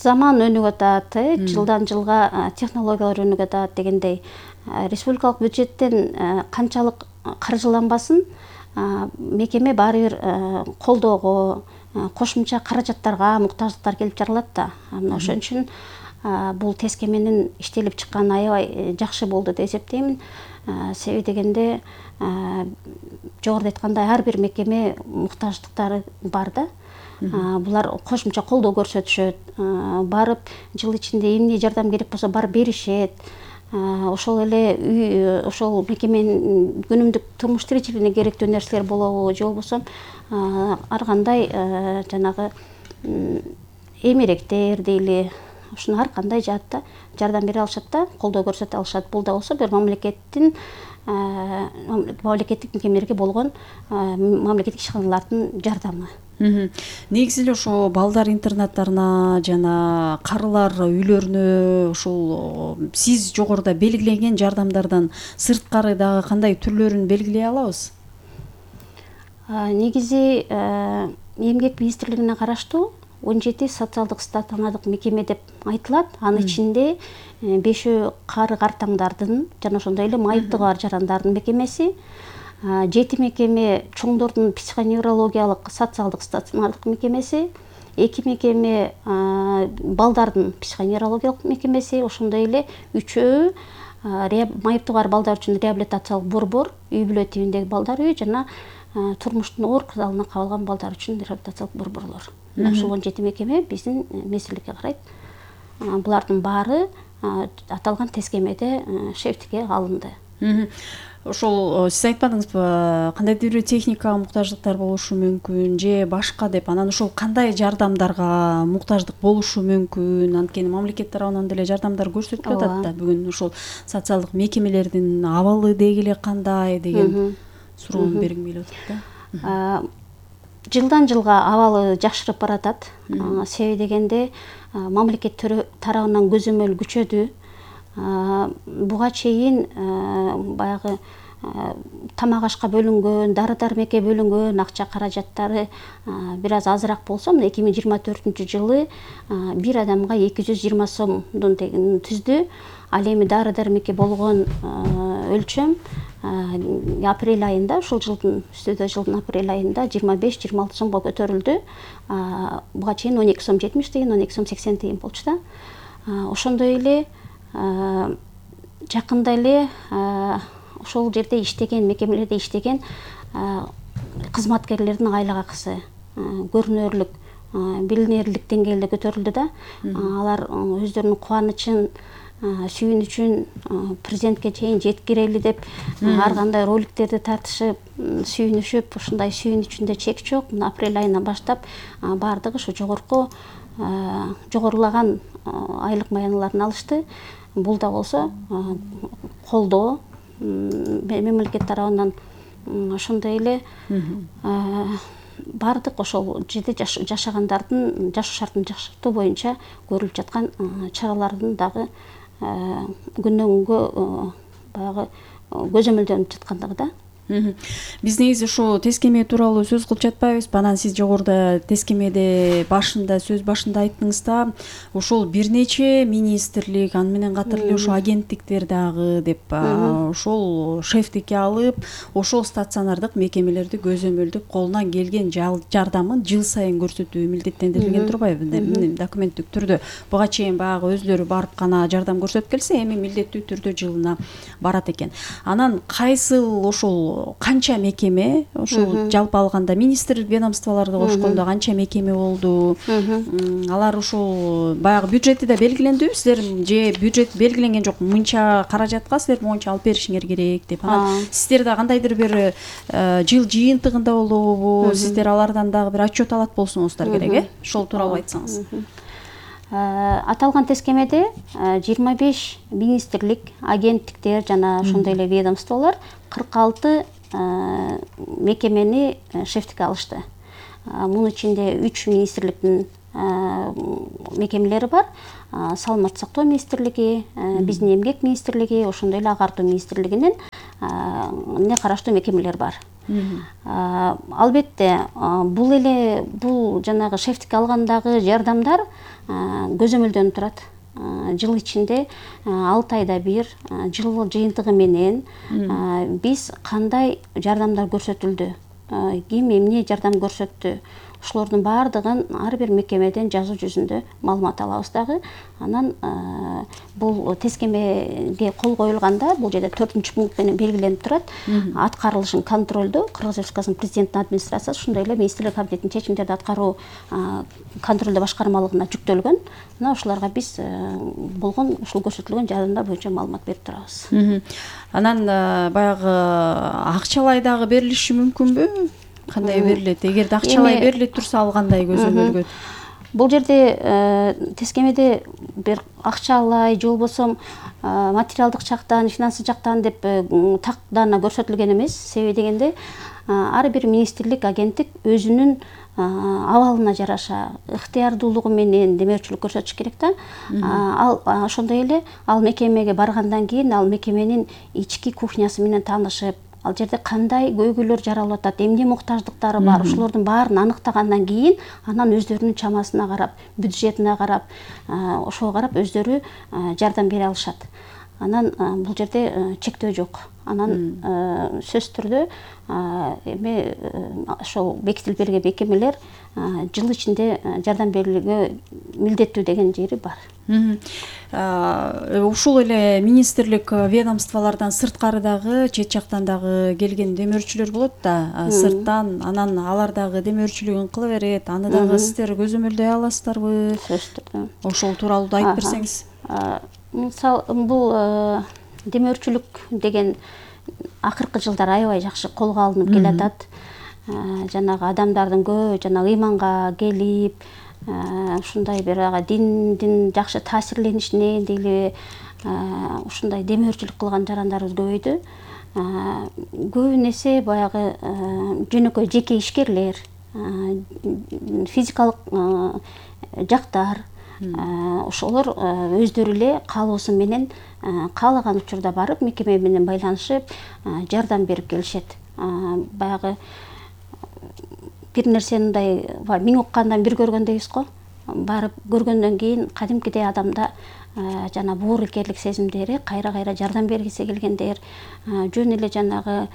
Заман өнүгүп атат, жылдан жылга технологиялар өнүгүп атат дегендей, республикалык бюджеттен канчалык каржыланбасын, мекеме баары бир колдоого, кошумча каражаттарга муктаждыктар келип жаралат да. Ошон үчүн бул тескеменин иштелип чыкканы аябай жакшы болду деп эсептейм. Себеби дегенде жогоруда айткандай ар бир мекеме муктаждыктары бар да. Булар кошумча колдоо көрсөтүшөт, барып жыл ичинде эмне жардам керек болсо барып беришет. Ошол эле ошол мекеменин күнүмдүк турмуш тиричилигине керектүү нерселер болобу же болбосо ар кандай жанагы эмеректер дейли, ушуну ар кандай жаатта жардам бере алышат да, колдоо көрсөтө алышат. Бул да болсо бир мамлекеттик мекемелерге болгон мамлекеттик ишканалардын жардамы. Негизи эле ошо балдар интернаттарына жана карылар үйлөрүнө ушул сиз жогоруда белгиленген жардамдардан сырткары дагы кандай түрлөрүн белгилей алабыз? Негизи эмгек министрлигине караштуу 17 социалдык стационардык мекеме деп айтылат. Анын ичинде 5 кары картаңдардын жана ошондой эле майыптыгы бар жарандардын мекемеси, 7 мекеме чоңдордун психоневрологиялык социалдык стационардык мекемеси, 2 мекеме балдардын психоневрологиялык мекемеси, ошондой эле 3 майыптыгы бар балдар үчүн реабилитациялык борбор, үй бүлө тибиндеги балдар үйү жана турмуштун оор кырдаалына кабылган балдар үчүн реабилитациялык борборлор. Ошол 17 мекеме биздин министрликке карайт. Булардын баары аталган тескемеде шефтикке алынды. Ошол сиз айтпадыңызбы, кандайдыр бир техникага муктаждыктар болушу мүмкүн же башка деп, анан ошол кандай жардамдарга муктаждык болушу мүмкүн? Анткени мамлекет тарабынан деле жардамдар көрсөтүлүп атат да. Бүгүн ошол социалдык мекемелердин абалы деги эле кандай деген суроону бергим келип атат да. Жылдан жылга абалы жакшырып баратат. Себеби дегенде мамлекет тарабынан көзөмөл күчөдү. Буга чейин баягы тамак ашка бөлүнгөн, дары дармекке бөлүнгөн акча каражаттары бир аз азыраак болсо, 2024-жылы бир адамга 220 сомдун тегин түздү. Ал эми дары дармекке болгон өлчөм апрель айында, ушул жылдын жылдын апрель айында 25-26 сомго көтөрүлдү. Буга чейин 12 сом 70 тыйын, 12 сом 80 тыйын болчу да. Ошондой эле жакында эле ошол жерде иштеген, мекемелерде иштеген кызматкерлердин айлык акысы көрүнөрлүк, билинерлик деңгээлде көтөрүлдү да. Алар өздөрүнүн кубанычын, сүйүнүчүн президентке чейин жеткирели деп ар кандай роликтерди тартышып, сүйүнүшүп, ушундай сүйүнүчүндө чек жок. Мына апрель айынан баштап баардыгы ушу жогорулаган айлык маяныларын алышты. Бул да болсо колдоо мамлекет тарабынан. Ошондой эле баардык ошол жерде жашагандардын жашоо шартын жакшыртуу боюнча көрүлүп жаткан чаралардын дагы күндөн күнгө баягы көзөмөлдөнүп жаткандыгы да. Биз негизи ушу тескеме тууралуу сөз кылып жатпайбызбы? Анан сиз жогоруда тескемеде сөз башында айттыңыз да, ошол бир нече министрлик, аны менен катар эле ошо агенттиктер дагы деп ошол шефтикке алып, ошол стационардык мекемелерди көзөмөлдөп колунан келген жардамын жыл сайын көрсөтүү милдеттендирилген турбайбы? Документтик түрдө буга чейин баягы өзлөрү барып гана жардам көрсөтүп келсе, эми милдеттүү түрдө жылына барат экен. Анан кайсыл ошол канча мекеме, ошол жалпы алганда министрлик ведомстволорду кошкондо канча мекеме болду? Алар ошол баягы бюджети да белгилендиби? Сиздер же бюджет белгиленген жок, мынча каражатка силер моунча алып беришиңер керек деп. Анан сиздер да кандайдыр бир жыл жыйынтыгында болобу? Сиздер алардан дагы бир отчет алат болсоңуздар керек, ошол тууралуу айтсаңыз. Аталган тескемеде 25 министрлик, агенттиктер жана ошондой эле ведомстволор 46 мекемени шефтикке алышты. Мунун ичинде 3 министрликтин мекемелери бар. Саламаттык сактоо министрлиги, биздин эмгек министрлиги, ошондой эле агартуу министрлигинин не караштуу мекемелер бар. Албетте бул жанагы шефтикке алгандагы жардамдар көзөмөлдөнүп турат. Жыл ичинде 6 айда бир жыл жыйынтыгы менен биз кандай жардамдар көрсөтүлдү, ким эмне жардам көрсөттү, ошолордун баардыгын ар бир мекемеден жазуу жүзүндө маалымат алабыз дагы. Анан бул тескемеге кол коюлганда бул жерде 4-пункт менен белгиленип турат. Аткарылышын контролдоо Кыргыз Республикасынын президенттин администрациясы, ошондой эле министрлик кабинетинин чечимдерди аткаруу контролдоо башкармалыгына жүктөлгөн. Мына ошолорго биз болгон ушул көрсөтүлгөн жардамдар боюнча маалымат берип турабыз. Анан баягы акчалай дагы берилиши мүмкүнбү? Кандай берилет? Эгерде акчалай берилип турса ал кандай көзөмөлгө? Бул жерде тескемеде бир акчалай же болбосо материалдык жактан, финансы жактан деп так даана көрсөтүлгөн эмес. Себеби дегенде ар бир министрлик, агенттик өзүнүн абалына жараша ыктыярдуулугу менен демөөрчүлүк көрсөтүш керек да. Ал ошондой эле ал мекемеге баргандан кийин ал мекеменин ички кухнясы менен таанышып, ал жерде кандай көйгөйлөр жаралып атат, эмне муктаждыктары бар, ошолордун баарын аныктагандан кийин анан өздөрүнүн чамасына карап, бюджетине карап, ошого карап өздөрү жардам бере алышат. Анан бул жерде чектөө жок. Анан сөзсүз түрдө эми ошол бекитилип берген мекемелер жыл ичинде жардам берүүгө милдеттүү деген жери бар. Ушул эле министрлик ведомстволордон сырткары дагы, чет жактан дагы келген демөөрчүлөр болот да, сырттан. Анан алар дагы демөөрчүлүгүн кыла берет. Аны дагы сиздер көзөмөлдөй аласыздарбы? Сөзсүз түрдө. Ошол тууралуу да айтып берсеңиз. Мисалы, бул демөөрчүлүк деген акыркы жылдар аябай жакшы колго алынып келатат. Жанагы адамдардын көбү жанагы ыйманга келип, ушундай бир диндин жакшы таасирленишинен дейли ушундай демөөрчүлүк кылган жарандарыбыз көбөйдү. Көбүнесе баягы жөнөкөй жеке ишкерлер, физикалык жактар, ошолор өздөрү эле каалоосу менен каалаган учурда барып мекеме менен байланышып жардам берип келишет. Баягы бир нерсени мындай миң уккандан бир көргөн дейбиз го. Барып көргөндөн кийин кадимкидей адамда жана боорукерлик сезимдери, кайра жардам бергиси келгендер, жөн эле жанагы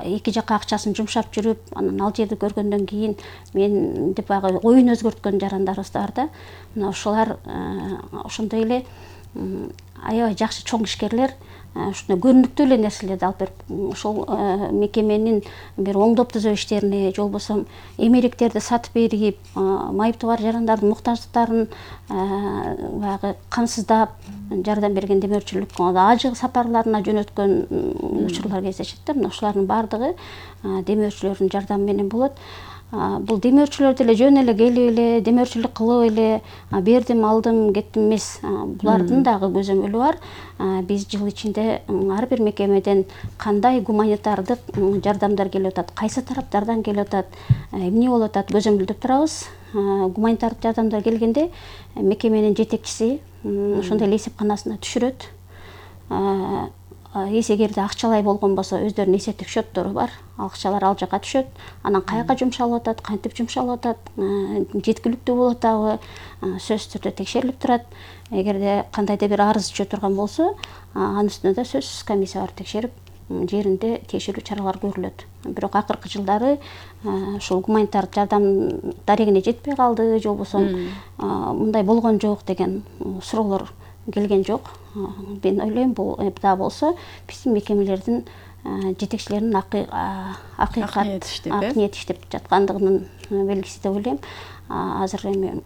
эки жакка акчасын жумшап жүрүп, анан ал жерди көргөндөн кийин мен деп баягы оюн өзгөрткөн жарандарыбыз бар да. Мына ошолар ошондой эле аябай жакшы чоң ишкерлер ушундай көрүнүктүү эле нерселерди алып берип, ошол мекеменин бир оңдоп түзөө иштерине, же болбосо эмеректерди сатып берип, майыптуу бар жарандардын муктаждыктарын баягы камсыздап жардам берген демөөрчүлүк, ажы сапарларына жөнөткөн учурлар кездешет да. Мына ошолардын баардыгы демөөрчүлөрдүн жардамы менен болот. Бул демөөрчүлөр деле жөн эле келип эле демөөрчүлүк кылып эле бердим, алдым, кеттим эмес. Булардын дагы көзөмөлү бар. Биз жыл ичинде ар бир мекемеден кандай гуманитардык жардамдар келип атат, кайсы тараптардан келип атат, эмне болуп атат көзөмөлдөп турабыз. Гуманитардык жардамдар келгенде мекеменин жетекчиси ошондой эле эсепканасына түшүрөт. эсегерде акчалай болгон болсо өздөрүнүн эсептик счеттору бар, акчалар ал жака түшөт. Анан каяка жумшалып атат, кантип жумшалып атат, жеткиликтүү болуп атабы сөзсүз түрдө текшерилип турат. Эгерде кандайдыр бир арыз түшө турган болсо, анын үстүнө да сөзсүз комиссия барып текшерип, жеринде текшерүү чаралары көрүлөт. Бирок акыркы жылдары ушул гуманитардык жардам дарегине жетпей калды, же болбосо мындай болгон жок деген суроолор келген жок. Мен ойлойм, бул да болсо биздин мекемелердин жетекчилеринин ак ниет иштеп жаткандыгынын белгиси деп ойлойм. Азыр эми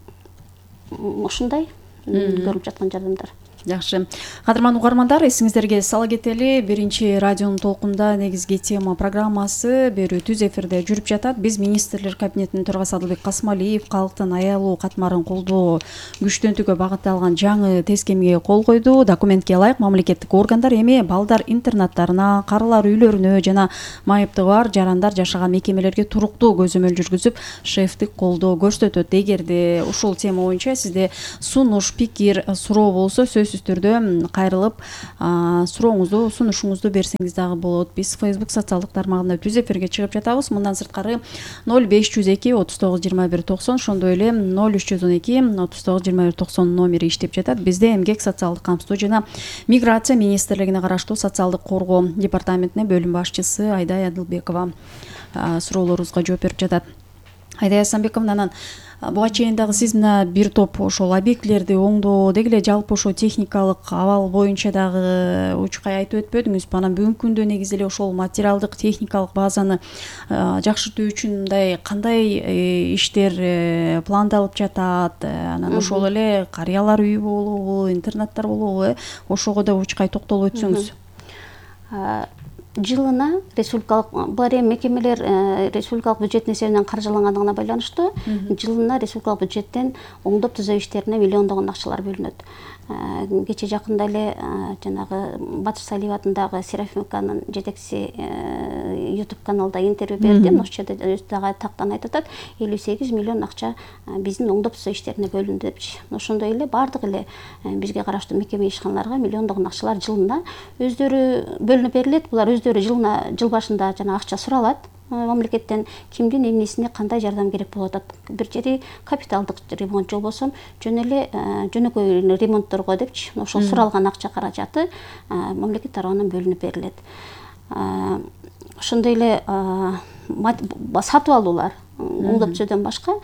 ушундай көрүлүп жаткан жардамдар. Жакшы. Кадырман угармандар, эсиңиздерге сала кетели, биринчи радионун толкунда негизги тема программасы берүү түз эфирде жүрүп жатат. Биз министрлер кабинетинин төрагасы Адылбек Касымалиев калктын аялуу катмарын колдоо күчтөнтүүгө багытталган жаңы тескемге кол койду. Документке ылайык мамлекеттик органдар эми балдар интернаттарына, карылар үйлөрүнө жана майыптыгы бар жарандар жашаган мекемелерге туруктуу көзөмөл жүргүзүп, шефтик колдоо көрсөтөт. Эгерде ушул тема боюнча сизде сунуш, пикир, суроо болсо сөзсүз түрдө кайрылып сурооңузду, сунушуңузду берсеңиз дагы болот. Биз Facebook социалдык тармагында түз эфирге чыгып жатабыз. Мындан сырткары 0502 39 21 90, ошондой эле 0312 39 21 90 номери иштеп жатат. Бизде эмгек, социалдык камсыздоо жана миграция министрлигине караштуу социалдык коргоо департаментине бөлүм башчысы Айдай Адылбекова суроолорубузга жооп берип жатат. Айдай Асанбековна, буга чейин дагы сиз мына бир топ ошол объектилерди оңдоо, деги эле жалпы ошо техникалык абал боюнча дагы учкай айтып өтпөдүңүзбү? Анан бүгүнкү күндө негизи эле ошол материалдык, техникалык базаны жакшыртуу үчүн мындай кандай иштер пландалып жатат? Анан ошол эле карыялар үйү болобу, интернаттар болобу? Ошого да учкай токтолуп өтсөңүз. Жылына республикалык булар эми мекемелер республикалык бюджеттин эсебинен каржылангандыгына байланыштуу жылына республикалык бюджеттен оңдоп түзөө иштерине миллиондогон акчалар бөлүнөт. Кече жакында эле жанагы Батыш Салиев атындагы Серафимовканын жетекчиси YouTube каналда интервью берди. Ошол жерде өзү дагы тактан айтып атат, 58 миллион акча биздин оңдоп түзөө иштерине бөлүндү депчи. Ошондой эле бардык эле бизге караштуу мекеме ишканаларга миллиондогон акчалар жылына өздөрү бөлүнүп берилет. Булар өздөрү жылына жыл башында жана акча суралат мамлекеттен, кимдин эмнесине кандай жардам керек болуп атат. Бир жери капиталдык ремонт, же болбосо жөн эле жөнөкөй ремонтторго депчи, ошол суралган акча каражаты мамлекет тарабынан бөлүнүп берилет. Ошондой эле сатып алуулар, оңдоп түзөөдөн башка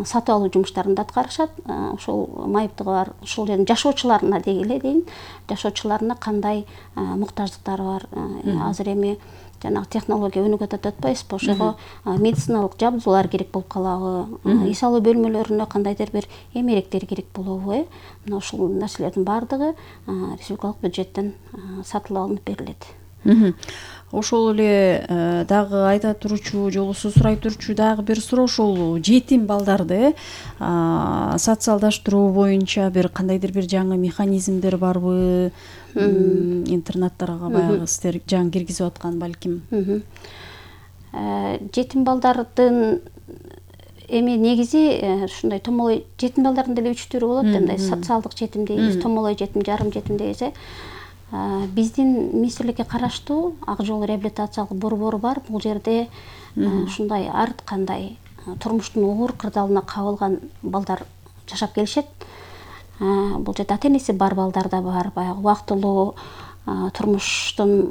сатып алуу жумуштарын да аткарышат. Ошол майыптыгы бар, ошол жердин жашоочуларына деги эле дейин, жашоочуларына кандай муктаждыктары бар. Азыр эми жанагы технология өнүгүп атат атпайсызбы? Ошого медициналык жабдуулар керек болуп калабы? Эс алуу бөлмөлөрүнө кандайдыр бир эмеректер керек болобу? Мына ушул нерселердин баардыгы республикалык бюджеттен сатылып алынып берилет. Ошол эле дагы айта турчу, же болбосо сурай турчу дагы бир суроо, ошол жетим балдарды социалдаштыруу боюнча бир кандайдыр бир жаңы механизмдер барбы? Интернаттарга баягы сиздер жаңы киргизип аткан балким. Жетим балдардын эми негизи ушундай томолой жетим балдардын деле 3 түрү болот. Мындай социалдык жетим дейбиз, томолой жетим, жарым жетим дейбиз. Биздин министрликке караштуу Ак жол реабилитациялык борбору бар. Бул жерде ушундай ар кандай турмуштун оор кырдаалына кабылган балдар жашап келишет. Бул жерде ата-энеси бар балдар да бар, баягы убактылуу турмуштун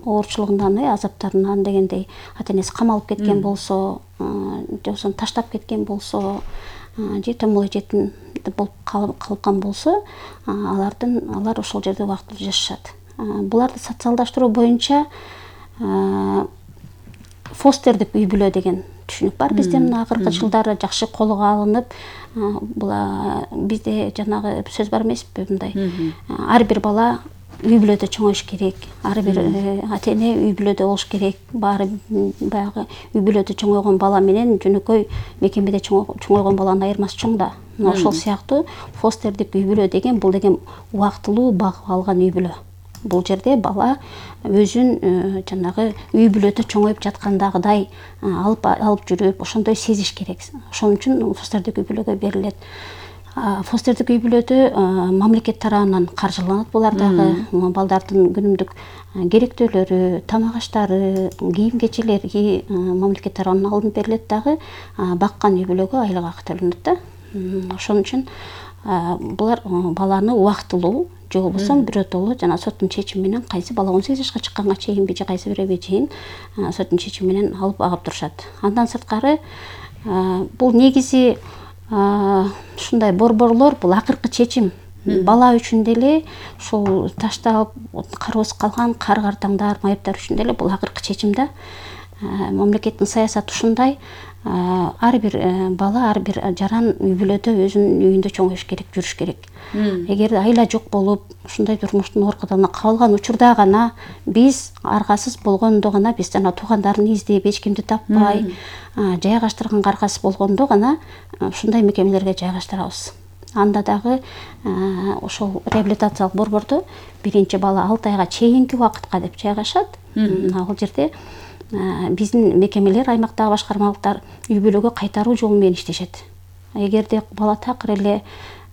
оорчулугунан, азаптарынан дегендей ата-энеси камалып кеткен болсо, же болбосо таштап кеткен болсо, же томолой жетим болуп калган болсо, алар ошол жерде убактылуу жашашат. Буларды социалдаштыруу боюнча фостердик үй бүлө деген түшүнүк бар. Бизде мына акыркы жылдары жакшы колго алынып, бизде жанагы сөз бар эмеспи, мындай ар бир бала үй бүлөдө чоңоюш керек, ар бир ата-эне үй бүлөдө болуш керек. Баары баягы үй бүлөдө чоңойгон бала менен жөнөкөй мекемеде чоңойгон баланын айырмасы чоң да. Ошол сыяктуу фостердик үй бүлө деген, бул деген убактылуу багып алган үй бүлө. Бул жерде бала өзүн жанагы үй бүлөдө чоңоюп жаткандагыдай алып жүрүп, ошондой сезиш керек. Ошон үчүн фостердик үй бүлөгө берилет. Фостердик үй бүлөдө мамлекет тарабынан каржыланат. Булар дагы балдардын күнүмдүк керектөөлөрү, тамак аштары, кийим кечелери мамлекет тарабынан алынып берилет, дагы баккан үй бүлөгө айлык акы төлөнөт да. Ошон үчүн булар баланы убактылуу же болбосо биротоло жана соттун чечими менен кайсы бала 18 жашка чыкканга чейинби же кайсы бирөөгө чейин соттун чечими менен алып агып турушат. Андан сырткары бул негизи ушундай борборлор бул акыркы чечим. Бала үчүн деле ушул таштап кароосуз калган кар-картаңдар, майыптар үчүн деле бул акыркы чечим да. Мамлекеттин саясаты ушундай. Ар бир бала, ар бир жаран үй бүлөдө өзүнүн үйүндө чоңоюш керек, жүрүш керек. Эгер айла жок болуп, ушундай турмуштун оркудан кабылган учурда гана биз аргасыз болгондо гана, биз жана туугандарын издеп, эч кимди таппай, жайгаштырганга аргасыз болгондо гана ушундай мекемелерге жайгаштырабыз. Анда дагы ошол реабилитациялык борбордо биринчи бала 6 айга чейинки убакытка деп жайгашат. Ал жерде биздин мекемелер, аймактагы башкармалыктар үй бүлөгө кайтаруу жолу менен иштешет. Эгерде бала такыр эле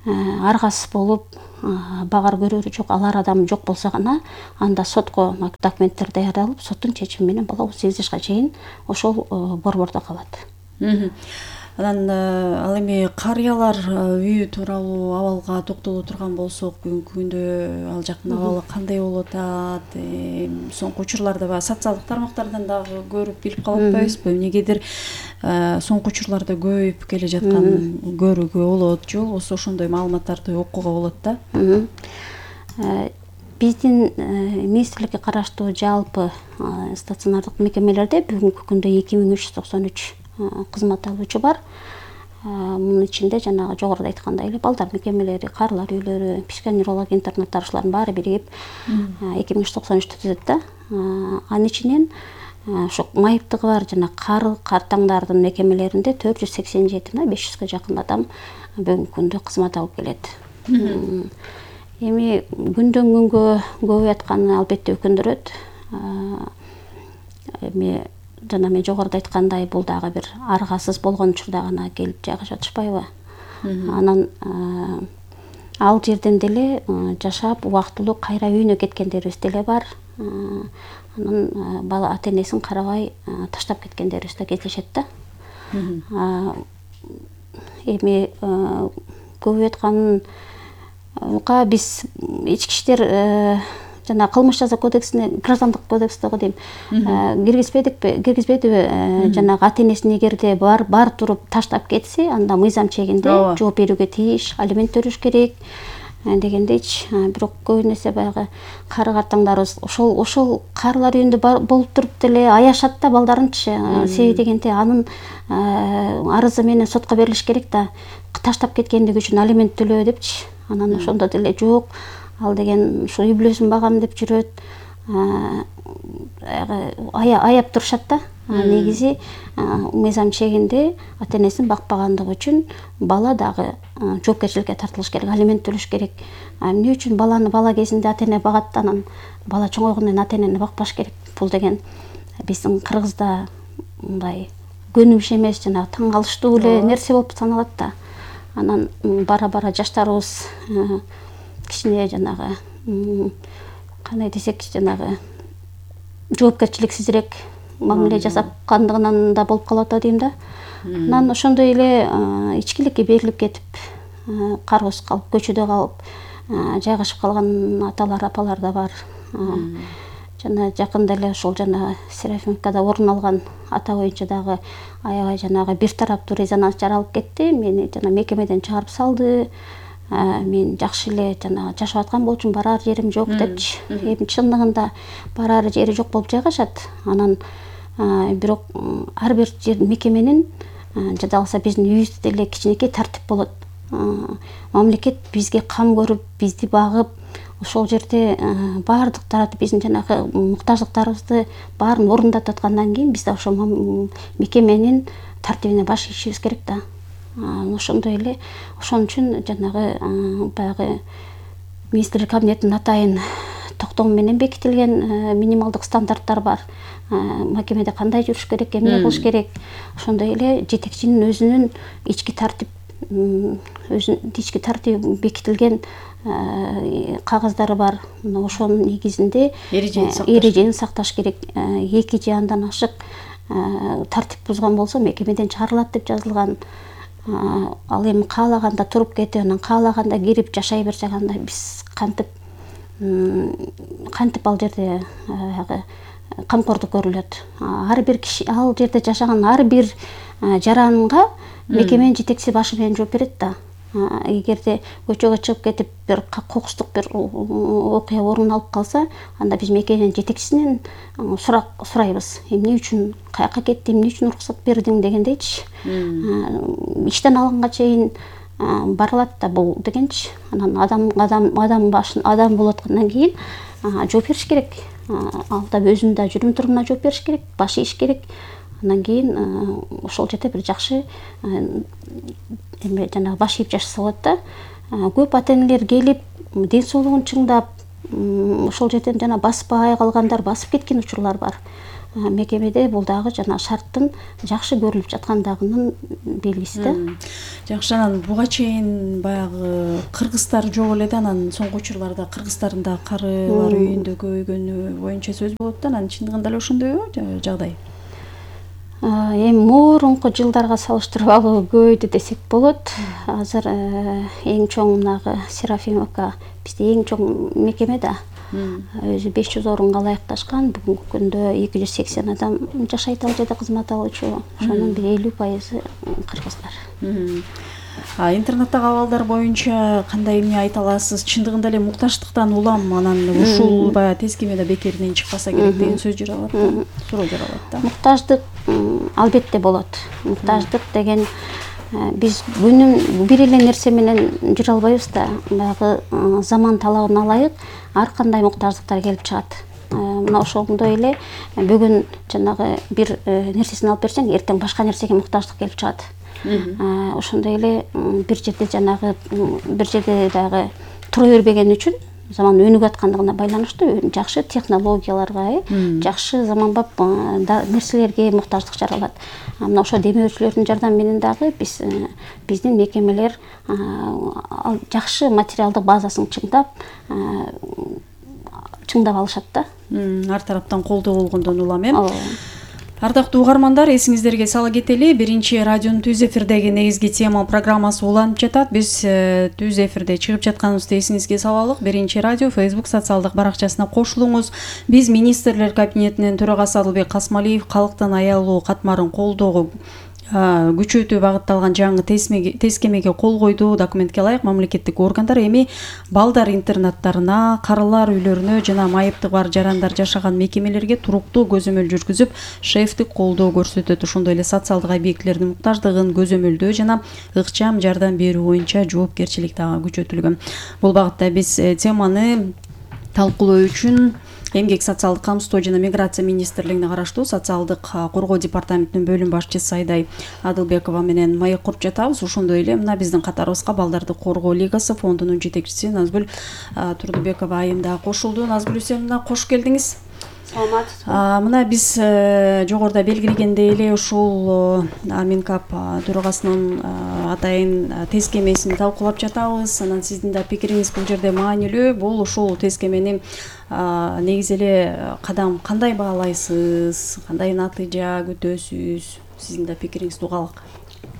аргасыз болуп, багар көрөрү жок, алар адам жок болсо гана, анда сотко документтер даярдалып, соттун чечими менен бала 18 жашка чейин ошол борбордо калат. Анан ал эми карыялар үйү тууралуу абалга токтоло турган болсок, бүгүнкү күндө ал жактын абалы кандай болуп атат? Соңку учурларда баягы социалдык тармактардан дагы көрүп билип калып атпайбызбы? Эмнегедир соңку учурларда көбөйүп келе жаткан көрүүгө болот, же болбосо ошондой маалыматтарды окууга болот да. Биздин министрликке караштуу жалпы стационардык мекемелерде бүгүнкү күндө 2393 кызмат алуучу бар. Мунун ичинде жанагы жогоруда айткандай эле балдар мекемелери, карылар үйлөрү, психоневрология интернаттары ушулардын баары биригип 2393 түзөт да. Анын ичинен ошо майыптыгы бар жана картаңдардын мекемелеринде 487 500га жакын адам бүгүнкү күндө кызмат алып келет. Эми күндөн күнгө көбөйүп атканы албетте өкүндүрөт. Эми жана мен жогоруда айткандай, бул дагы бир аргасыз болгон учурда гана келип жайгашып атышпайбы? Анан ал жерден деле жашап убактылуу кайра үйүнө кеткендерибиз деле бар. Анан бала ата-энесин карабай таштап кеткендерибиз да кездешет да. Эми көбөйүп атканга биз ички иштер жана кылмыш жаза кодексине, граждандык кодекстеги дейм, киргизбедиби? Жанагы ата-энесин эгерде бар туруп таштап кетсе, анда мыйзам чегинде жооп берүүгө тийиш, алимент төлөш керек дегендейчи. Бирок көбүн эсе баягы кары-картаңдарыбыз ошол карылар үйүндө болуп туруп деле аяшат да балдарынчы. Себеби дегенде анын арызы менен сотко берилиш керек да, таштап кеткендиги үчүн алимент төлөө депчи. Анан ошондо деле жок, ал деген ушу үй бүлөсүн багам деп жүрөт. Аяп турушат да. Негизи мыйзам чегинде ата-энесин бакпагандыгы үчүн бала дагы жоопкерчиликке тартылыш керек, алимент төлөш керек. Эмне үчүн баланы бала кезинде ата-эне багат, анан бала чоңойгондон кийин ата-энени бакпаш керек? Бул деген биздин Кыргызда мындай көнүмүш эмес, жана таң калыштуу эле нерсе болуп саналат да. Анан бара-бара жаштарыбыз кичине жанагы кандай десек, жанагы жоопкерчиликсизирээк мамиле жасапкандыгынан да болуп калып атат дейм да. Анан ошондой эле ичкиликке берилип кетип, кароосуз калып, көчөдө калып жайгашып калган аталар, апалар да бар. Жана жакында эле ошол жана Серафимовкада орун алган ата боюнча дагы аябай жанагы бир тараптуу резонанс жаралып кетти. Мени жана мекемеден чыгарып салды. Мен жакшы эле жана жашап аткан болчумун, барар жерим жок депчи. Эми чындыгында барар жери жок болуп жайгашат. Анан бирок ар бир мекеменин жада калса биздин үйүбүздө деле кичинекей тартип болот. Мамлекет бизге кам көрүп, бизди багып, ошол жерде баардык тарапты биздин жанагы муктаждыктарыбызды баарын орундатып аткандан кийин биз да ошол мекеменин тартибине баш ийишибиз керек да. Ошондой эле, ошон үчүн жанагы баягы министрлик кабинетинин атайын токтому менен бекитилген минималдык стандарттар бар. Мекемеде кандай жүрүш керек, эмне кылыш керек. Ошондой эле жетекчинин өзүнүн ички тартип өзүнүн ички тартиби бекитилген кагаздары бар. Мына ошонун негизинде эрежени сакташ керек. 2 же андан ашык тартип бузган болсо мекемеден чыгарылат деп жазылган. Ал эми каалаганда туруп кетип, анан каалаганда кирип жашай берсе кандай, биз кантип ал жерде камкордук көрүлөт. Ар бир киши ал жерде жашаган ар бир жаранга мекеменин жетекчиси башы менен жооп берет да. Эгерде көчөгө чыгып кетип бир кокустук бир окуя орун алып калса, анда биз мекеменин жетекчисинен сурайбыз. Эмне үчүн каяка кетти, эмне үчүн уруксат бердиң дегендейчи. Иштен алганга чейин барылат да бул дегенчи. Анан адам болуп аткандан кийин жооп бериш керек. Ал да өзүнүн да жүрүм турумуна жооп бериш керек, баш ийиш керек. Андан кийин ошол жерде бир жакшы эме жанагы баш ийип жашаса болот да. Көп ата-энелер келип, ден соолугун чыңдап, ошол жерден жана баспай калгандар басып кеткен учурлар бар. Мекемеде бул дагы жана шарттын жакшы көрүлүп жаткандыгынын белгиси да. Жакшы, анан буга чейин баягы кыргыздар жок эле да, анан соңку учурларда кыргыздардын да карылар үйүндө көбөйгөнү боюнча сөз болот да. Анан чындыгында эле ошондойбу жагдай? Эми мурунку жылдарга салыштырып алуу көбөйдү десек болот. Азыр эң чоң мынагы Серафимовка бизде эң чоң мекеме да. Өзү 500 орунга ылайыкташкан. Бүгүнкү күндө 280 адам жашайт ал жерде кызмат алуучу. Ошонун 50% кыргыздар. Интернеттеги абалдар боюнча кандай эмне айта аласыз? Чындыгында эле мукташтыктан улам анан ушул баягы тескемеде бекеринен чыкпаса керек деген сөз жаралат да, суроо жаралат да. Мукташтык албетте болот. Мукташтык деген биз күнүм бир эле нерсе менен жүрө албайбыз да. Баягы заман талабына ылайык ар кандай мукташтыктар келип чыгат. Мына ошондой эле бүгүн жанагы бир нерсесин алып берсең, эртең башка нерсеге мукташтык келип чыгат. Ошондой эле бир жерде дагы тура бербеген үчүн заман өнүгүп аткандыгына байланыштуу жакшы технологияларга, жакшы заманбап нерселерге мукташтык жаралат. Мына ошо демөөрчүлөрдүн жардамы менен дагы биздин мекемелер жакшы материалдык базасын чыңдап алышат да. Ар тараптан колдоо болгондон улам эми. Ардактуу угармандар, эсиңиздерге сала кетели, биринчи радионун түз эфирдеги негизги тема программасы уланып жатат. Биз түз эфирде чыгып жатканыбызды эсиңизге салалык. Биринчи радио Facebook социалдык баракчасына кошулуңуз. Биз министрлер кабинетинин төрагасы Адылбек Касмалиев калктын аялуу катмарын колдоого күчөтүү багытталган жаңы тескемеге кол койду. Документке ылайык мамлекеттик органдар эми балдар интернаттарына, карылар үйлөрүнө жана майыптыгы бар жарандар жашаган мекемелерге туруктуу көзөмөл жүргүзүп, шефтик колдоо көрсөтөт. Ошондой эле социалдык объектилердин муктаждыгын көзөмөлдөө жана ыкчам жардам берүү боюнча жоопкерчилик дагы күчөтүлгөн. Бул багытта биз теманы талкуулоо үчүн Эмгек социалдык камсыздоо жана миграция министрлигине караштуу социалдык коргоо департаментинин бөлүм башчысы Айдай Адылбекова менен маек куруп жатабыз. Ошондой эле мына биздин катарыбызга Балдарды коргоо лигасы фондунун жетекчиси Назгүл Турдубекова айым да кошулду. Назгүл мына кош келдиңиз. Саламатсызбы. Мына биз жогоруда белгилегендей эле ушул Минкап төрагасынын атайын тескемесин талкуулап жатабыз. Анан сиздин да пикириңиз бул жерде маанилүү. Бул ушул тескемени негизи эле кадам кандай баалайсыз, кандай натыйжа күтөсүз? Сиздин да пикириңизди угалык.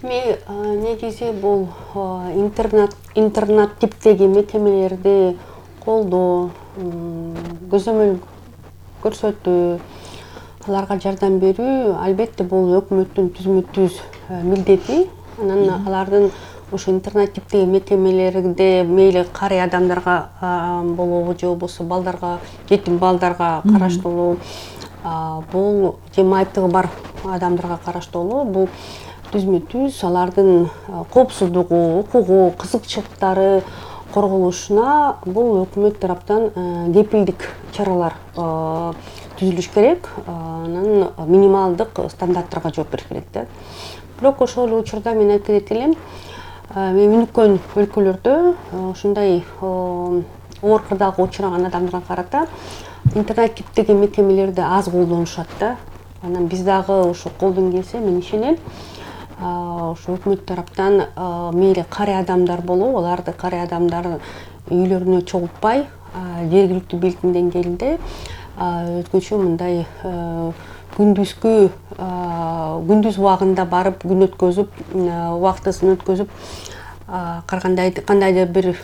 Негизи бул интернат типтеги мекемелерди колдоо, көзөмөл көрсөтүү, аларга жардам берүү албетте бул өкмөттүн түзмө-түз милдети. Анан алардын ушу интернат типтеги мекемелерде мейли карый адамдарга болобу же болбосо балдарга, жетим балдарга караштуулуу, бул же майыптыгы бар адамдарга караштуулуу, бул түзмө-түз алардын коопсуздугу, укугу, кызыкчылыктары корголушуна бул өкмөт тараптан кепилдик чаралар түзүлүш керек. Анан минималдык стандарттарга жооп бериш керек да. Бирок ошол эле учурда мен айтып кетет элем, өнүккөн өлкөлөрдө ушундай оор кырдаалга учураган адамдарга карата интернет типтеги мекемелерди аз колдонушат да. Анан биз дагы ушу колдон келсе мен ишенем. ошо өкмөт тараптан мейли карый адамдар болобу, аларды карый адамдар үйлөрүнө чогултпай, жергиликтүү бийликтин деңгээлинде өзгөчө мындай күндүз убагында барып күн өткөзүп, убактысын өткөзүп, кандайдыр бир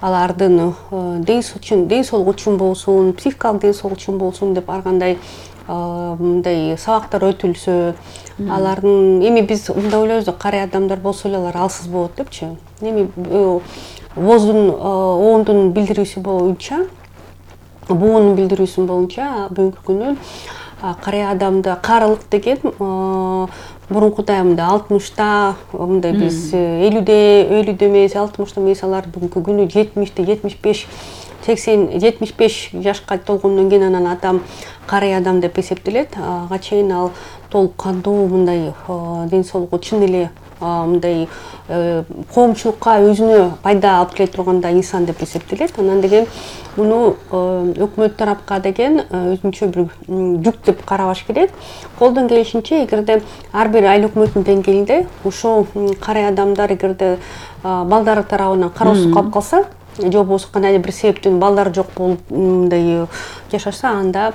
алардын ден соолугу үчүн болсун, психикалык ден соолугу үчүн болсун деп ар кандай мындай сабактар өтүлсө, алардын эми биз мындай ойлойбуз, карый адамдар болсо эле алар алсыз болот депчи. Эми ВОЗдун оондун билдирүүсү боюнча, буунун билдирүүсү боюнча бүгүнкү күнү карый адамда карылык деген мурункудай мындай 60та, мындай биз 50де эмес, 60та эмес, алар бүгүнкү күнү 70те, 75, 80, 75 жашка толгондон кийин анан адам карый адам деп эсептелет. Ага чейин ал толук кандуу мындай ден соолугу чын эле мындай коомчулукка өзүнө пайда алып келе тургандай инсан деп эсептелет. Анан деген муну өкмөт тарапка деген өзүнчө бир жүк деп карабаш керек. Колдон келишинче, эгерде ар бир айыл өкмөттүн деңгээлинде ушул карый адамдар эгерде балдары тарабынан кароосуз калып калса, же болбосо кандайдыр бир себептен балдары жок болуп мындай жашаса, анда